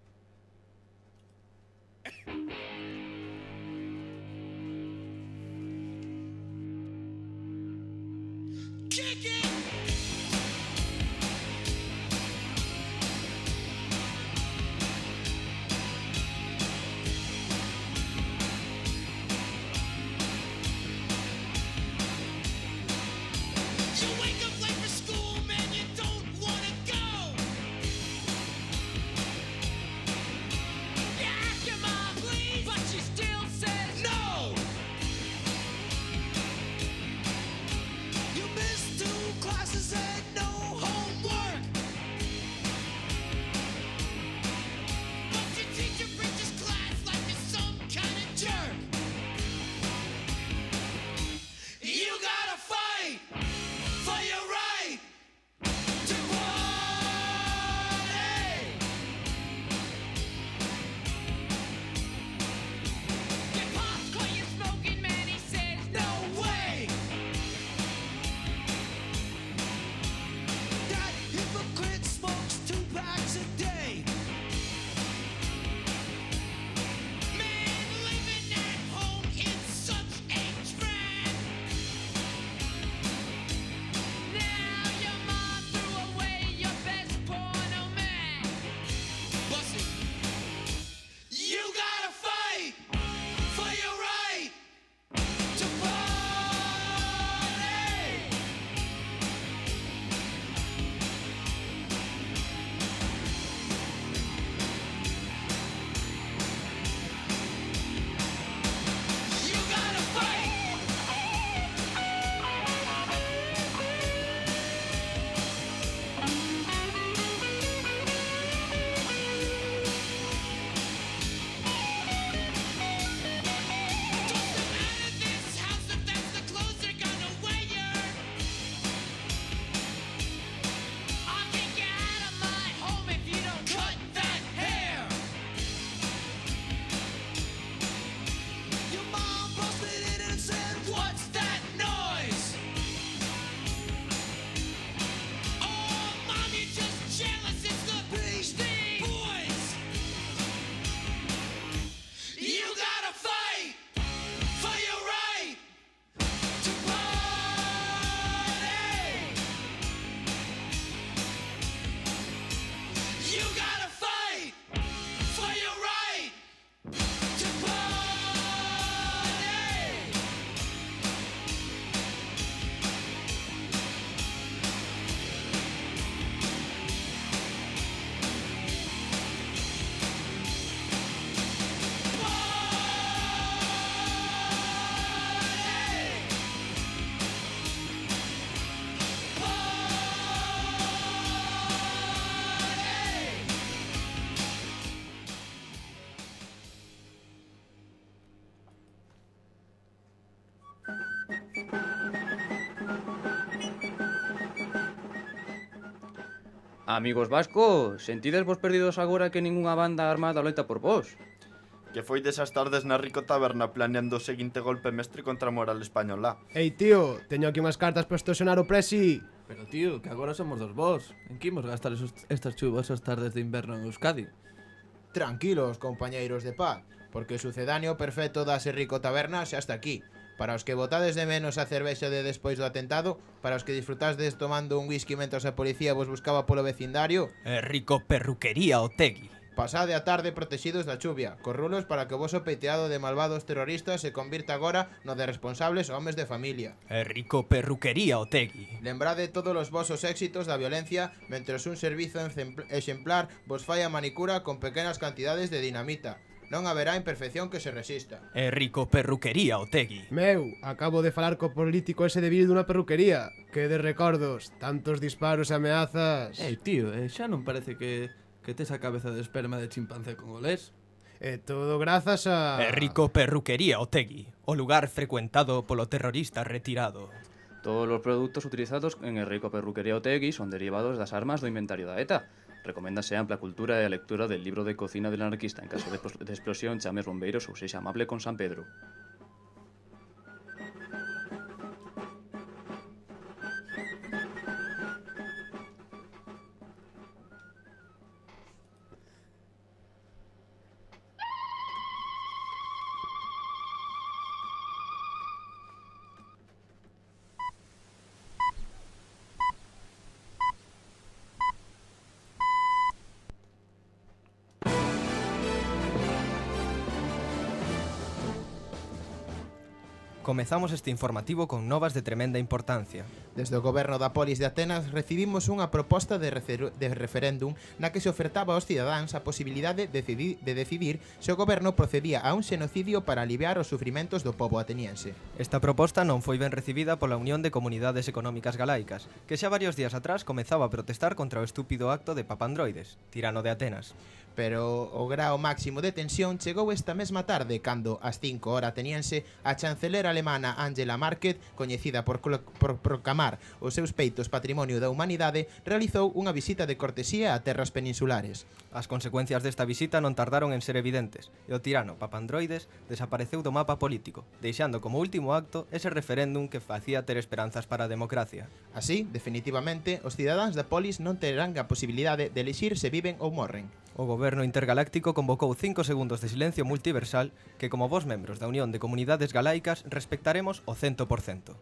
[SPEAKER 10] Amigos vascos, sentides vos perdidos agora que ningunha banda armada loita por vos?
[SPEAKER 5] Que foi desas tardes na Rico Taberna planeando o seguinte golpe mestre contra a moral española.
[SPEAKER 4] Ei, tío, teño aquí unhas cartas para extorsionar o presi.
[SPEAKER 7] Pero, tío, que agora somos dos vos. En que imos gastar estas chuvosas tardes de inverno en Euskadi?
[SPEAKER 2] Tranquilos, compañeiros de paz, porque o sucedáneo perfecto das Rico Taberna xa está aquí. Para os que botades de menos a cervexa de despois do atentado, para os que disfrutasdes tomando un whisky mentras a policía vos buscaba polo vecindario,
[SPEAKER 3] Rico Perruquería Otegui.
[SPEAKER 2] Pasade a tarde protegidos da chuvia, corrulos para que o voso peiteado de malvados terroristas se convirta agora no de responsables homes de familia.
[SPEAKER 3] Rico perruquería Otegui.
[SPEAKER 2] Lembrade todos os vosos éxitos da violencia mentres un servizo exemplar vos fai a manicura con pequenas cantidades de dinamita. Non haberá imperfección que se resista.
[SPEAKER 3] Rico perruquería Otegui.
[SPEAKER 4] Meu, acabo de falar co político ese de Vil dunha perruquería. Que de recordos, tantos disparos e ameazas.
[SPEAKER 7] Tío, xa non parece que tes a cabeza de esperma de chimpancé congolés.
[SPEAKER 4] Todo grazas a...
[SPEAKER 3] Rico perruquería Otegui, o lugar frecuentado polo terrorista retirado.
[SPEAKER 10] Todos os produtos utilizados en Rico perruquería Otegui son derivados das armas do inventario da ETA. Recoméndase ampla cultura e a lectura del libro de cocina del anarquista. En caso de explosión, chames bombeiros ou sexa amable con San Pedro.
[SPEAKER 3] Comezamos este informativo con novas de tremenda importancia.
[SPEAKER 2] Desde o goberno da polis de Atenas recibimos unha proposta de referéndum na que se ofertaba aos cidadáns a posibilidade de decidir se o goberno procedía a un xenocidio para aliviar os sufrimentos do pobo ateniense.
[SPEAKER 3] Esta proposta non foi ben recibida pola Unión de Comunidades Económicas Galaicas, que xa varios días atrás comezaba a protestar contra o estúpido acto de Papandroides, tirano de Atenas.
[SPEAKER 2] Pero o grao máximo de tensión chegou esta mesma tarde cando, ás 5 hora ateniense, a chancelera alemana Angela Merkel, coñecida por proclamar os seus peitos patrimonio da humanidade, realizou unha visita de cortesía a terras peninsulares.
[SPEAKER 3] As consecuencias desta visita non tardaron en ser evidentes, e o tirano Papandroides desapareceu do mapa político, deixando como último acto ese referéndum que facía ter esperanzas para a democracia.
[SPEAKER 2] Así, definitivamente, os cidadáns da polis non terán a posibilidade de elixir se viven ou morren.
[SPEAKER 3] O Goberno Intergaláctico convocou 5 segundos de silencio multiversal que, como vos membros da Unión de Comunidades Galaicas, respectaremos o 100%.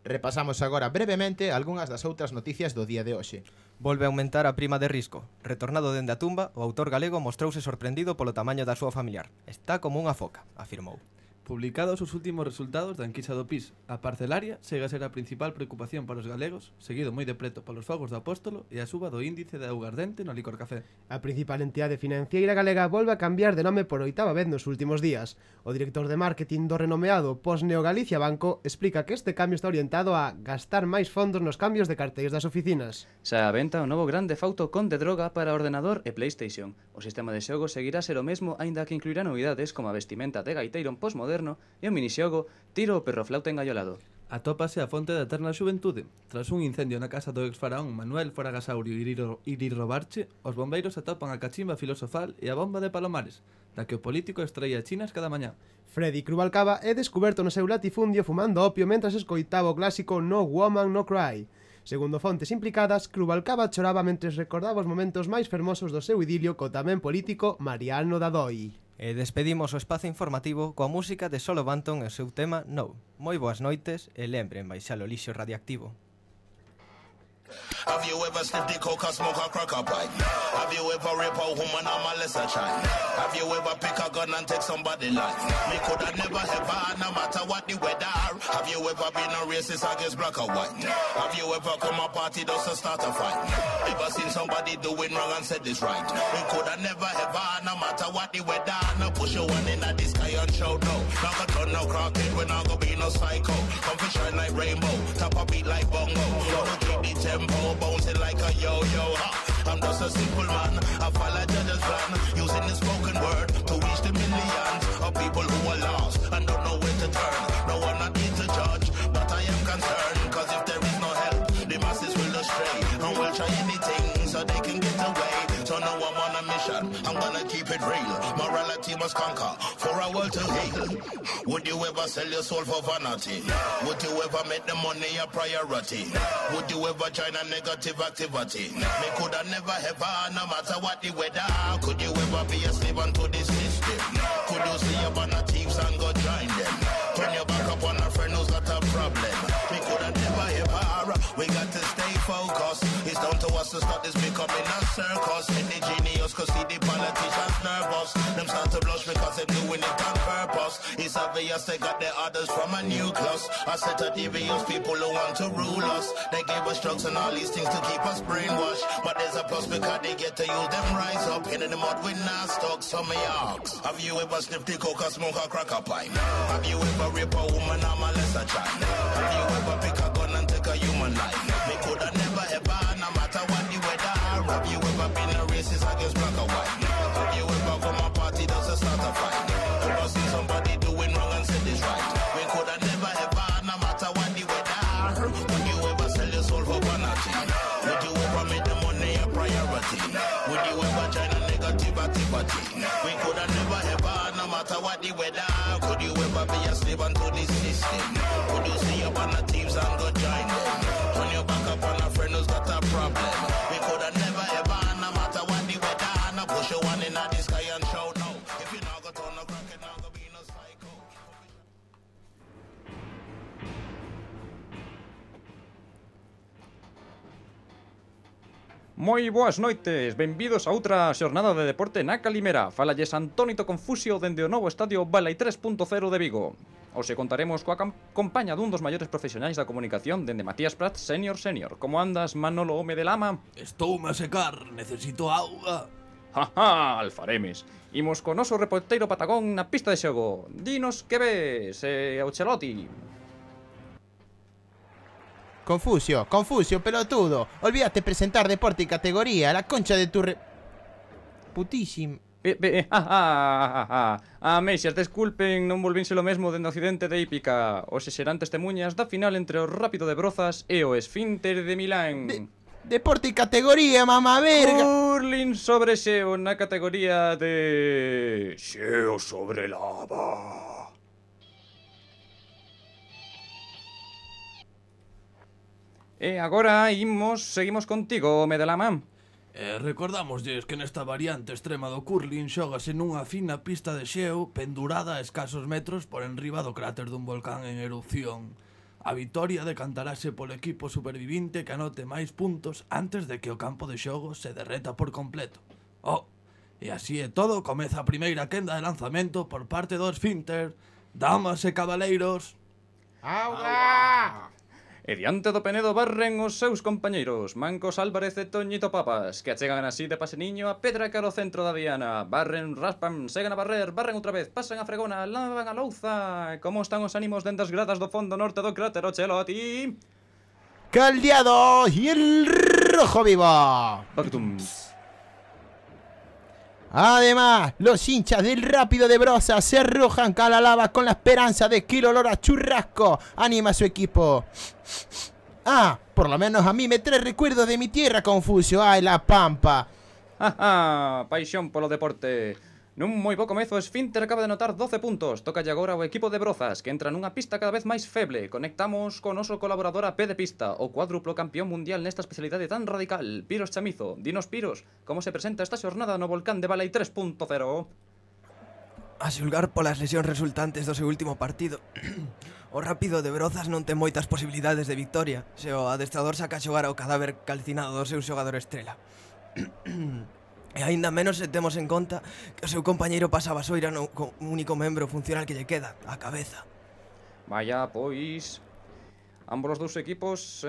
[SPEAKER 2] Repasamos agora brevemente algunhas das outras noticias do día de hoxe.
[SPEAKER 3] Volve a aumentar a prima de risco. Retornado dende a tumba, o autor galego mostrouse sorprendido polo tamaño da súa familiar. Está como unha foca, afirmou.
[SPEAKER 7] Publicados os últimos resultados da enquisa do PIS, a parcelaria chega a ser a principal preocupación para os galegos, seguido moi de preto polos fogos do Apóstolo e a suba do índice de augardente no licor café.
[SPEAKER 4] A principal entidade financiera galega volve a cambiar de nome por 8ª vez nos últimos días. O director de marketing do renomeado Postneo Galicia Banco explica que este cambio está orientado a gastar máis fondos nos cambios de cartéis das oficinas.
[SPEAKER 10] Xa a venta o novo Grand Theft Auto Conde Droga para ordenador e PlayStation. O sistema de xogo seguirá a ser o mesmo, aínda que incluirá novidades como a vestimenta de gaiteiro posmoderno e o minixogo Tiro o perro flauta engaiolado.
[SPEAKER 7] Atópase a fonte da eterna xuventude. Tras un incendio na casa do ex-faraón Manuel Foragasaurio Irirobarche, os bombeiros atopan a cachimba filosofal e a bomba de Palomares, da que o político extraía chinas cada mañá.
[SPEAKER 4] Freddy Crubalcaba é descuberto no seu latifundio fumando opio mentras escoitaba o clásico No Woman No Cry. Segundo fontes implicadas, Crubalcaba choraba mentres recordaba os momentos máis fermosos do seu idilio co tamén político Mariano Dadoi.
[SPEAKER 3] E despedimos o espazo informativo coa música de Solo Banton e o seu tema No. Moi boas noites e lembren baixar o lixo radioactivo.
[SPEAKER 13] Have you ever sniffed the coke or smoke a crack a pipe? Have you ever rape a woman or molest a child? Have you ever pick a gun and take somebody's life? Me coulda never ever, no matter what the weather. Have you ever been a racist against black or white? Have you ever come a party just to start a fight? Ever seen somebody doing wrong and said this right? Me coulda never ever, no matter what the weather. No push your one in the sky and shout no. Not gonna turn no crackhead, we not gonna be no psycho. Come for shine like rainbow, top a beat like bongo. Gonna keep the tempo bouncing like a yo-yo. I'm just a simple man, I follow judge's plan, using the spoken word to reach the millions of people who are lost and don't know where to turn. No, I'm not here to judge, but I am concerned, cause if there is no help, the masses will astray and will try anything so they can get away. So now I'm on a mission, I'm gonna keep it real. Morality must conquer for our world to heal. Would you ever sell your soul for vanity? Would you ever make the money a priority? Would you ever join a negative activity? Me coulda never ever, no matter what the weather. Could you ever be a slave unto this system? Could you see up on the thieves and go join them? Turn your back up on a friend who's got a problem. Me coulda never ever We got to stay focused. It's down to us to stop this becoming a circus. And the genius could see the politicians nervous. Them start to blush because they're doing it on purpose. It's obvious they got their orders from a nucleus. A set of devious people who want to rule us. They gave us drugs and all these things to keep us brainwashed. But there's a plus because they get to use them rise up. In the mud with not stuck, some of y'all. Have you ever sniffed the coke or smoke a crack a pipe? Have you ever rape a woman or molest a child? Have you ever pick a gun and take a human life? Me coulda never ever, no matter what the weather. Have you ever been a racist against black or white? Have you ever come a party just to start a fight? Ever seen somebody doing wrong and said it's right? We coulda never ever, no matter what the weather. Would you ever sell your soul for vanity? Would you ever make the money a priority? Would you ever join a negativity party? We coulda never ever, no matter what the weather. Could you ever be a slave unto this system? Could you see up on the teams and go join them? Turn your back up on a friend who's got a problem. We coulda never ever, no matter what the weather. Now push your one in the sky and shout no. If you not go turn no crack, it not go be no psycho.
[SPEAKER 14] Moi boas noites, benvidos a outra xornada de deporte na Calimera. Falalles Antónito Confusio dende o novo estadio Balai 3.0 de Vigo. Hoxe contaremos coa compaña dun dos maiores profesionais da comunicación dende Matías Prats, senior. Como andas, Manolo Home de Lama?
[SPEAKER 7] Estoume a secar, necesito auga.
[SPEAKER 14] Jaja, alfaremes. Imos co noso reporteiro Patagón na pista de xogo. Dinos que ves, Auchelotti.
[SPEAKER 2] Confusio, pelotudo. Olvídate presentar deporte y categoría. La concha de tu putísimo.
[SPEAKER 14] Meixas, desculpen, non volvinse lo mesmo dende o Occidente de Hípica. Hoxe serán testemunhas da final entre o Rápido de Brozas e o Esfínter de Milán.
[SPEAKER 2] Deporte y categoría, mamá verga.
[SPEAKER 14] Curling sobre xeo na categoría de xeo sobre lava. E agora seguimos contigo, Medelama.
[SPEAKER 7] Recordamosles que nesta variante extrema do curling xógase nunha fina pista de xeo pendurada a escasos metros por enriba do cráter dun volcán en erupción. A vitoria decantarase polo equipo supervivinte que anote máis puntos antes de que o campo de xogo se derreta por completo. E así é todo, comeza a primeira quenda de lanzamento por parte do Esfínter. Damas e cabaleiros.
[SPEAKER 2] ¡Auga!
[SPEAKER 14] E diante do Penedo barren os seus compañeiros Mancos Álvarez e Toñito Papas, que achegan así de paseniño a pedra cara ao centro da diana. Barren, raspan, seguen a barrer, barren outra vez, pasan a fregona, lavan a louza. Como están os ánimos dende as gradas do fondo norte do cráter Auchelotti?
[SPEAKER 2] Caldeado y el rojo vivo.
[SPEAKER 14] Pactum.
[SPEAKER 2] Además, los hinchas del Rápido de Brozas se arrojan a la lava con la esperanza de que el olor a churrasco anima a su equipo. Por lo menos a mí me trae recuerdos de mi tierra, Confusio. La Pampa.
[SPEAKER 14] Paixón polo deporte. Nun moi bo comezo, Esfínter acaba de anotar 12 puntos. Tócalle agora o equipo de Brozas, que entra nunha pista cada vez máis feble. Conectamos con noso colaborador a pé de pista, o cuádruplo campeón mundial nesta especialidade tan radical, Piros Chamizo. Dinos, Piros, como se presenta esta xornada no volcán de Balai 3.0?
[SPEAKER 3] A xulgar polas lesións resultantes do seu último partido, o Rápido de Brozas non ten moitas posibilidades de victoria se o adestrador saca a xogar ao cadáver calcinado do seu xogador estrela. E aínda menos se temos en conta que o seu compañeiro pasa a basoira no único membro funcional que lle queda, a cabeza.
[SPEAKER 14] Vaya, pois... Ambos os dous equipos,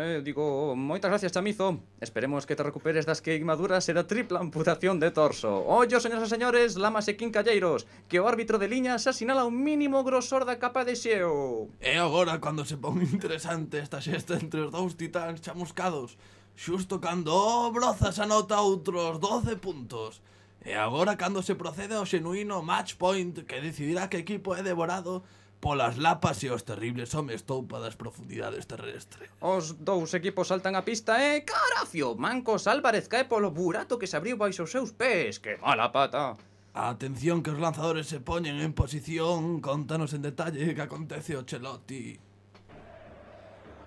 [SPEAKER 14] moitas gracias, Chamizo. Esperemos que te recuperes das queimaduras e da tripla amputación de torso. Ollo, señoras e señores, lamas e quincalleiros, que o árbitro de liña xa sinala un mínimo grosor da capa de xeo.
[SPEAKER 7] E agora, cando se pon interesante esta xesta entre os dous titáns chamuscados, xusto cando Brozas anota outros 12 puntos. E agora cando se procede ao xenuíno match point que decidirá que equipo é devorado polas lapas e os terribles homes toupa das profundidades terrestres.
[SPEAKER 14] Os dous equipos saltan a pista e carafio, Mancos Álvarez cae polo burato que se abriu baixo os seus pés. Que mala pata.
[SPEAKER 7] A atención que os lanzadores se poñen en posición, contanos en detalle que acontece o Chelotti.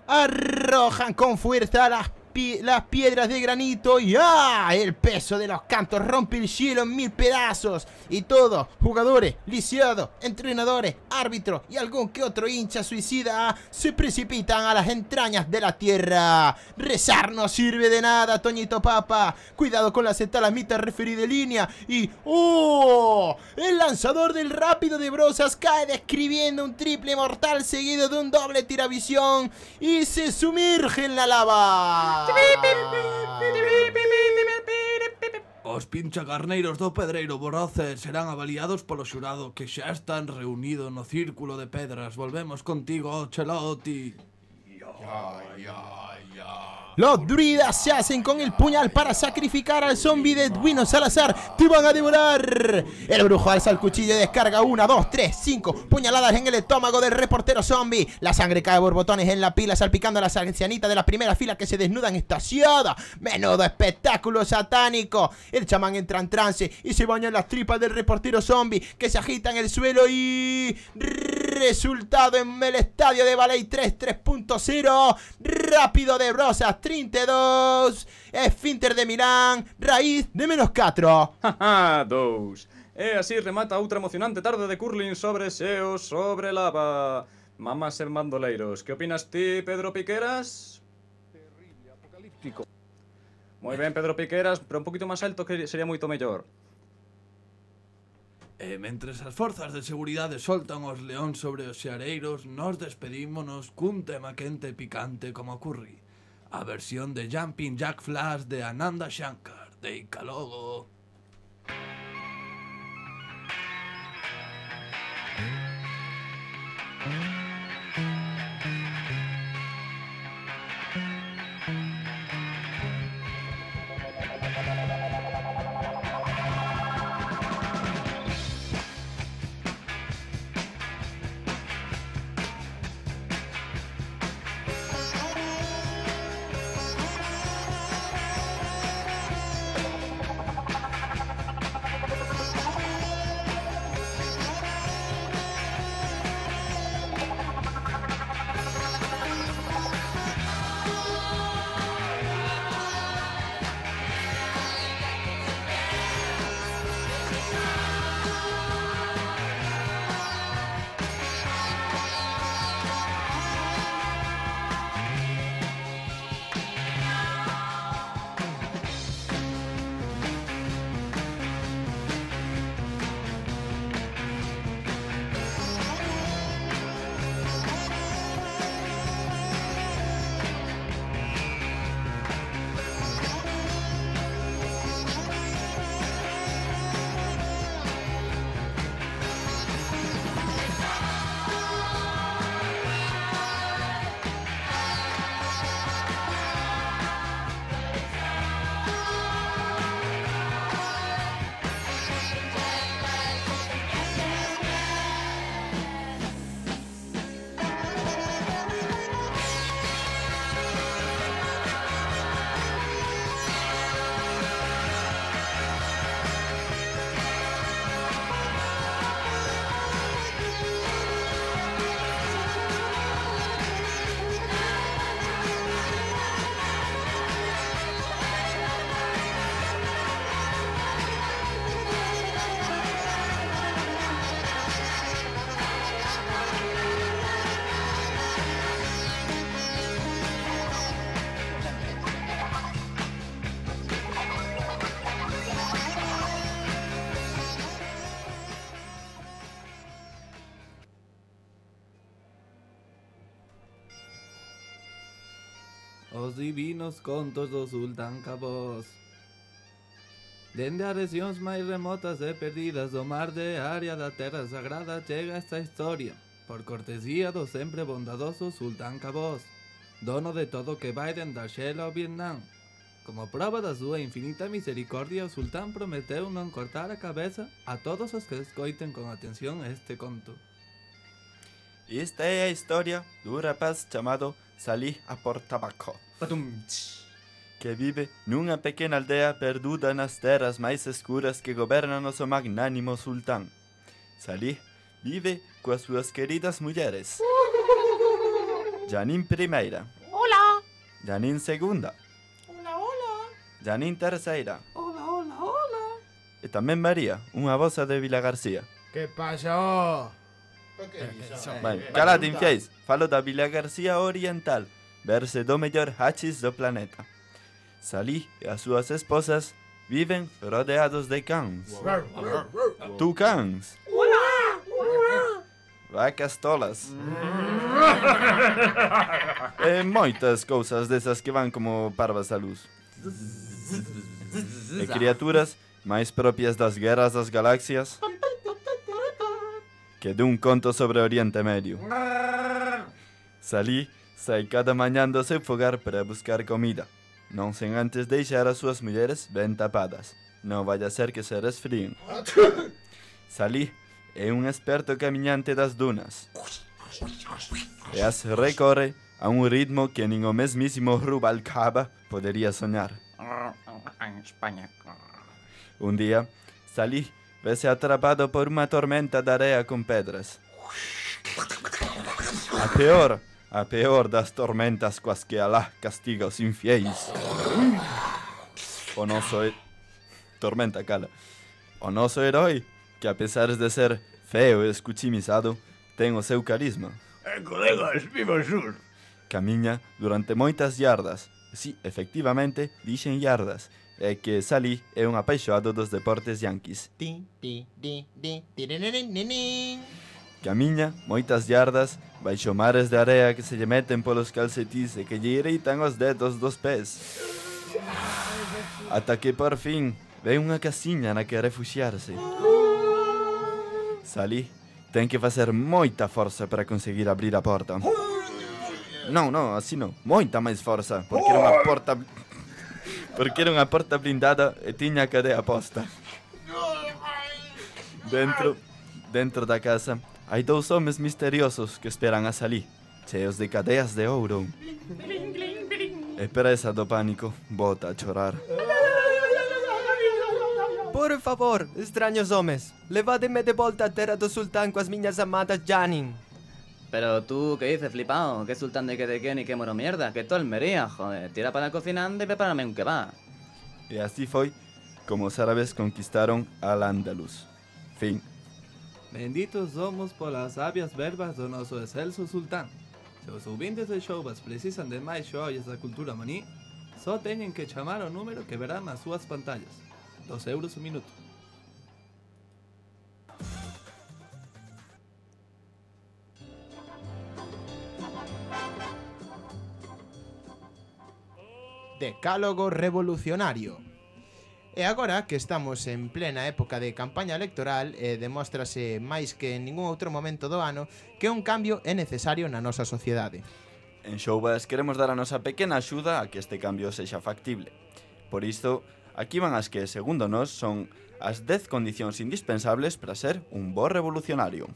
[SPEAKER 2] Arrojan con fuerza las las piedras de granito y el peso de los cantos rompe el cielo en 1000 pedazos y todos, jugadores, lisiados, entrenadores, árbitros y algún que otro hincha suicida se precipitan a las entrañas de la tierra. Rezar no sirve de nada, Toñito Papa. Cuidado con la cetalamita referí de línea y el lanzador del Rápido de Brozas cae describiendo un triple mortal seguido de un doble tiravisión y se sumerge en la lava.
[SPEAKER 7] Os pinchacarneiros do Pedreiro Boroces serán avaliados polo xurado que xa están reunidos no círculo de pedras. Volvemos contigo, Chelotti.
[SPEAKER 2] Los druidas se hacen con el puñal para sacrificar al zombie de Edwino Salazar. ¡Te van a devorar! El brujo alza el cuchillo y descarga 1, 2, 3, 5 puñaladas en el estómago del reportero zombie. La sangre cae por botones en la pila, salpicando a las ancianitas de la primera fila que se desnudan extasiadas. ¡Menudo espectáculo satánico! El chamán entra en trance y se baña en las tripas del reportero zombie, que se agita en el suelo y... resultado en el estadio de Ballet 3.0. Rápido de Brozas 32, Esfínter de Milán, raíz de -4.
[SPEAKER 14] Haha, 2. E así remata outra emocionante tarde de curling sobre xeo, sobre lava. Mamás en bandoleiros. Que opinas ti, Pedro Piqueras?
[SPEAKER 15] Terrible, apocalíptico.
[SPEAKER 14] Moi ben, Pedro Piqueras, pero un poquito máis alto que sería moito mellor.
[SPEAKER 7] E mentres as forzas de seguridade soltan os leóns sobre os xareiros, nos despedímonos cun tema quente e picante como curry. A versión de Jumping Jack Flash de Ananda Shankar, de Icalogo. Os divinos contos do Sultán Cabós. Dende as rexións máis remotas e perdidas do mar de área da Terra Sagrada chega esta historia, por cortesía do sempre bondadoso Sultán Cabós, dono de todo o que vai dende a Xela ao Vietnam. Como prova da súa infinita misericordia, o sultán prometeu non cortar a cabeza a todos os que escoiten con atención este conto.
[SPEAKER 5] Esta é a historia dun rapaz chamado Salih Aportabaco, que vive nunha pequena aldea perduda nas terras máis escuras que gobernan o seu magnánimo sultán. Salih vive coas súas queridas mulleres, Janine I,
[SPEAKER 16] Hola.
[SPEAKER 5] Janine II, Janine terceira.
[SPEAKER 7] Hola, hola, hola.
[SPEAKER 5] E tamén María, unha voza de Vila García.
[SPEAKER 4] Que pasou?
[SPEAKER 5] Calate, infiéis. Falo da Vila García Oriental, verse do mellor hachis do planeta. Salí e as súas esposas viven rodeados de cans. Tucans. Vacas tolas. E moitas cousas desas que van como parvas á luz. E criaturas máis propias das guerras das galaxias que dun conto sobre Oriente Medio. Sai cada mañán do seu fogar para buscar comida, non sen antes deixar as súas mulleres ben tapadas. Non vai a ser que se resfríen. Salí é un experto camiñante das dunas. E as recorre a un ritmo que nin o mesmísimo Rubalcaba podería soñar.
[SPEAKER 14] En España.
[SPEAKER 5] Un día, Salí vese atrapado por unha tormenta de area con pedras. A peor das tormentas coas que Alá castiga os infiéis. O noso tormenta cala. O noso herói, que a pesar de ser feo e escuchimizado, ten o seu carisma.
[SPEAKER 11] Colegas, viva Jesús!
[SPEAKER 5] Camiña durante moitas yardas. Si, efectivamente, dixen yardas. É que Salí é un apaixoado dos deportes yanquis. Camiña moitas yardas baixo mares de area que se lle meten polos calcetís e que lle irritan os dedos dos pés. Ata que por fin ve unha casiña na que refuxiarse. Salí ten que facer moita forza para conseguir abrir a porta. Non, así non, moita máis forza, porque era unha porta... Porque era unha porta blindada e tiña a cadea posta. Dentro da casa hai dous homes misteriosos que esperan a Salí, cheos de cadeas de ouro. E presa do pánico, bota a chorar.
[SPEAKER 3] Por favor, extraños homes, levádeme de volta a terra do sultán coas miñas amadas Janin.
[SPEAKER 10] Pero tú, ¿qué dices, flipao? ¿Qué sultán de qué ni qué moro mierda? Que todo Almería, joder. Tira para la cocinante y prepárame un kebab.
[SPEAKER 5] E así foi como os árabes conquistaron Al-Ándalus. Fin.
[SPEAKER 7] Benditos somos polas sabias verbas do noso excelso sultán. Se os ouvintes de Showbas precisan de máis xoias da cultura maní, só teñen que chamar o número que verán nas súas pantallas. 2 euros o minuto.
[SPEAKER 2] Decálogo revolucionario. E agora que estamos en plena época de campaña electoral, demóstrase máis que en ningún outro momento do ano que un cambio é necesario na nosa sociedade.
[SPEAKER 5] En Showbas queremos dar a nosa pequena axuda a que este cambio sexa factible. Por isto, aquí van as que, segundo nós, son as 10 condicións indispensables para ser un bo revolucionario.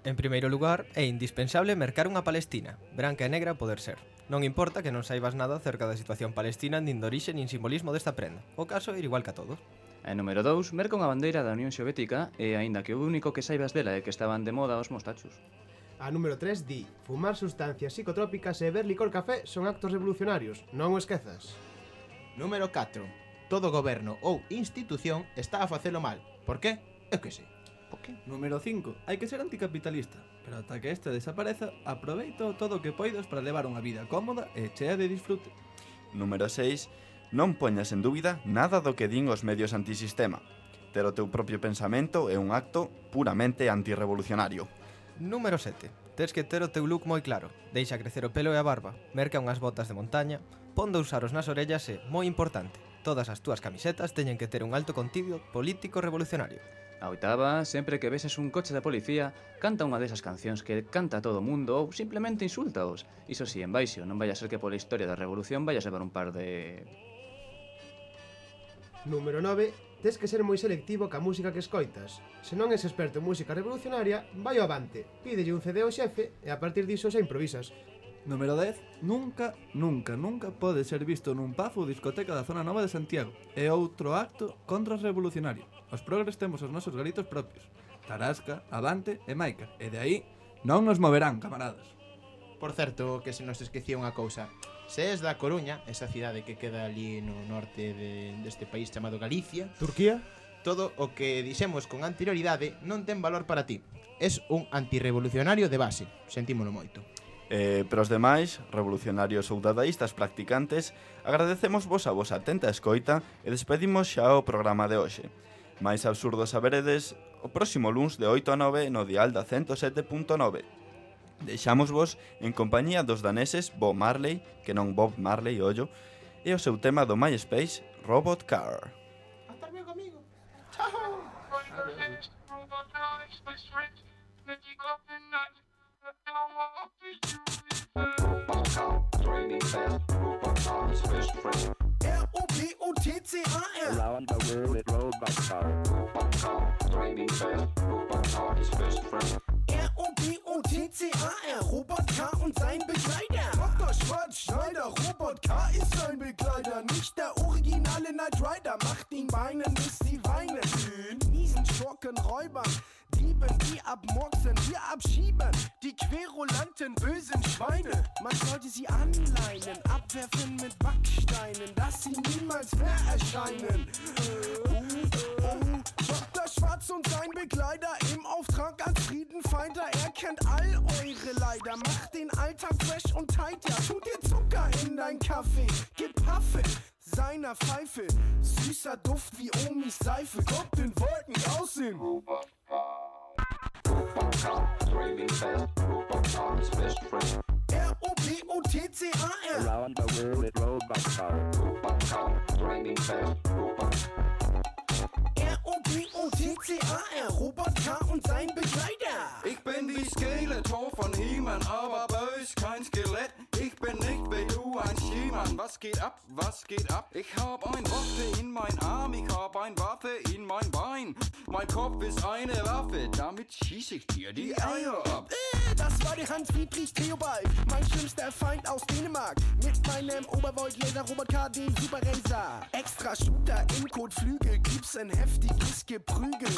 [SPEAKER 3] En primeiro lugar, é indispensable mercar unha Palestina, branca e negra a poder ser. Non importa que non saibas nada acerca da situación palestina nin de orixe nin simbolismo desta prenda. O caso é ir igual que a todos.
[SPEAKER 10] E número 2, merca unha bandeira da Unión Soviética e aínda que o único que saibas dela é que estaban de moda os mostachos.
[SPEAKER 4] A número 3 di: fumar sustancias psicotrópicas e beber licor café son actos revolucionarios, non o esquezas.
[SPEAKER 2] Número 4. Todo goberno ou institución está a facelo mal. Por qué? Eu que sei.
[SPEAKER 7] Número 5. Hai que ser anticapitalista, pero ata que este desapareza, aproveito todo o que poidas para levar unha vida cómoda e chea de disfrute.
[SPEAKER 5] Número 6. Non poñas en dúbida nada do que din os medios antisistema. Ter o teu propio pensamento é un acto puramente antirrevolucionario.
[SPEAKER 3] Número 7. Tes que ter o teu look moi claro. Deixa crecer o pelo e a barba, merca unhas botas de montaña, pon dous aros nas orellas e, moi importante, todas as túas camisetas teñen que ter un alto contido político revolucionario.
[SPEAKER 10] A oitava, sempre que veses un coche da policía, canta unha desas cancións que canta todo o mundo ou simplemente insultaos. Iso si, en baixo, non vai a ser que pola historia da revolución vai a levar un par de...
[SPEAKER 4] Número 9. Tes que ser moi selectivo ca música que escoitas. Se non és experto en música revolucionaria, vai ao avante, pídelle un CD ao xefe e a partir diso xa improvisas.
[SPEAKER 7] Número 10. Nunca pode ser visto nun pub ou discoteca da zona nova de Santiago. É outro acto contrarrevolucionario. Os progres temos os nosos galitos propios. Tarasca, Avante e Maica. E de aí non nos moverán, camaradas.
[SPEAKER 2] Por certo, que se nos esquecía unha cousa. Se és da Coruña, esa cidade que queda ali no norte deste país chamado Galicia,
[SPEAKER 4] Turquía,
[SPEAKER 2] todo o que dixemos con anterioridade non ten valor para ti. Es un antirrevolucionario de base, sentímolo moito.
[SPEAKER 5] Pero os demais, revolucionarios ou dadaístas practicantes, agradecemos vos a vosa atenta escoita e despedimos xa o programa de hoxe. Mais absurdo saberedes o próximo luns de 8 a 9 no dial da 107.9. Deixámosvos en compañía dos daneses Bob Marley, que non Bob Marley, ollo, e o seu tema do MySpace, Robot Car.
[SPEAKER 2] Hasta luego, amigo.
[SPEAKER 12] R-O-B-O-T-C-A-R Around the world with robot car. Robot car, driving fast. Robot car is best friend. R-O-B-O-T-C-A-R Robot-Car und sein Begleiter. Dr. Schwarzschneider, Robot-Car ist sein Begleiter. Nicht der originale Knight Rider, macht ihn weinen, bis sie weinen. Miesen Schurken, Räubern, Dieben, die abmurksen, wir abschieben. Die querulanten, bösen Schweine. Man sollte sie anleinen, abwerfen mit Backsteinen, dass sie niemals mehr erscheinen. Dr. Schwarz und sein Begleiter im Auftrag als Friedenfighter. Er kennt all eure Leider, macht den Alltag fresh und tight. Ja, tut dir Zucker in dein Kaffee, gib Paffe seiner Pfeife. Süßer Duft wie Omis Seife, kommt in Wolken aussehen. R-O-B-O-T-C-A-R Around the world with robot car. Robot car, driving fast. Robot R-O-B-O-T-C-A-R Robot-Car und sein Begleiter.
[SPEAKER 16] Ich bin wie Skeletor von He-Man, aber bös, kein Skelett. Ich bin nicht wie du, ein Schiemann. Was geht ab, was geht ab? Ich hab ein Waffe in mein Arm, ich hab ein Waffe in mein Bein. Mein Kopf ist eine Waffe, damit schieß ich dir die Eier ab.
[SPEAKER 12] Das war der Hans-Friedrich Theobald, mein schlimmster Feind aus Dänemark. Mit meinem Obervolt-Laser-Robot-Car, den Super Racer. Extra Shooter im Kotflügel, gibt's ein heftiges Geprügel.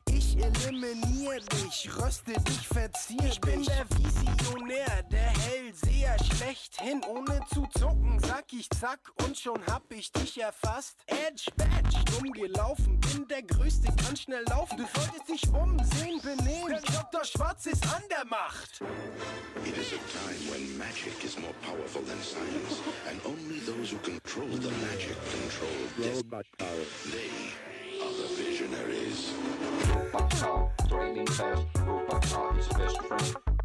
[SPEAKER 12] Ich eliminier dich, röste dich, verzieh dich. Ich bin der Visionär, der Hellseher schlechthin. Ohne zu zucken, sag ich zack und schon hab ich dich erfasst. Edge, Badge, dumm gelaufen, bin der Größte, kann schnell laufen. Du solltest dich umsehen, benehmen, der Dr. Schwarz ist an der Macht.
[SPEAKER 11] It is a time when magic is more powerful than science, and only those who control the magic control robot power. They are the visionaries.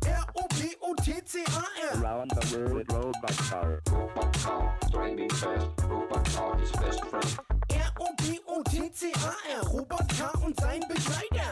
[SPEAKER 12] R-O-B-O-T-C-A-R
[SPEAKER 11] Around the world with robot car.
[SPEAKER 12] R-O-B-O-T-C-A-R Robot-Car und sein Begleiter.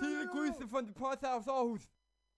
[SPEAKER 17] Viele Grüße von der Post aus Aarhus.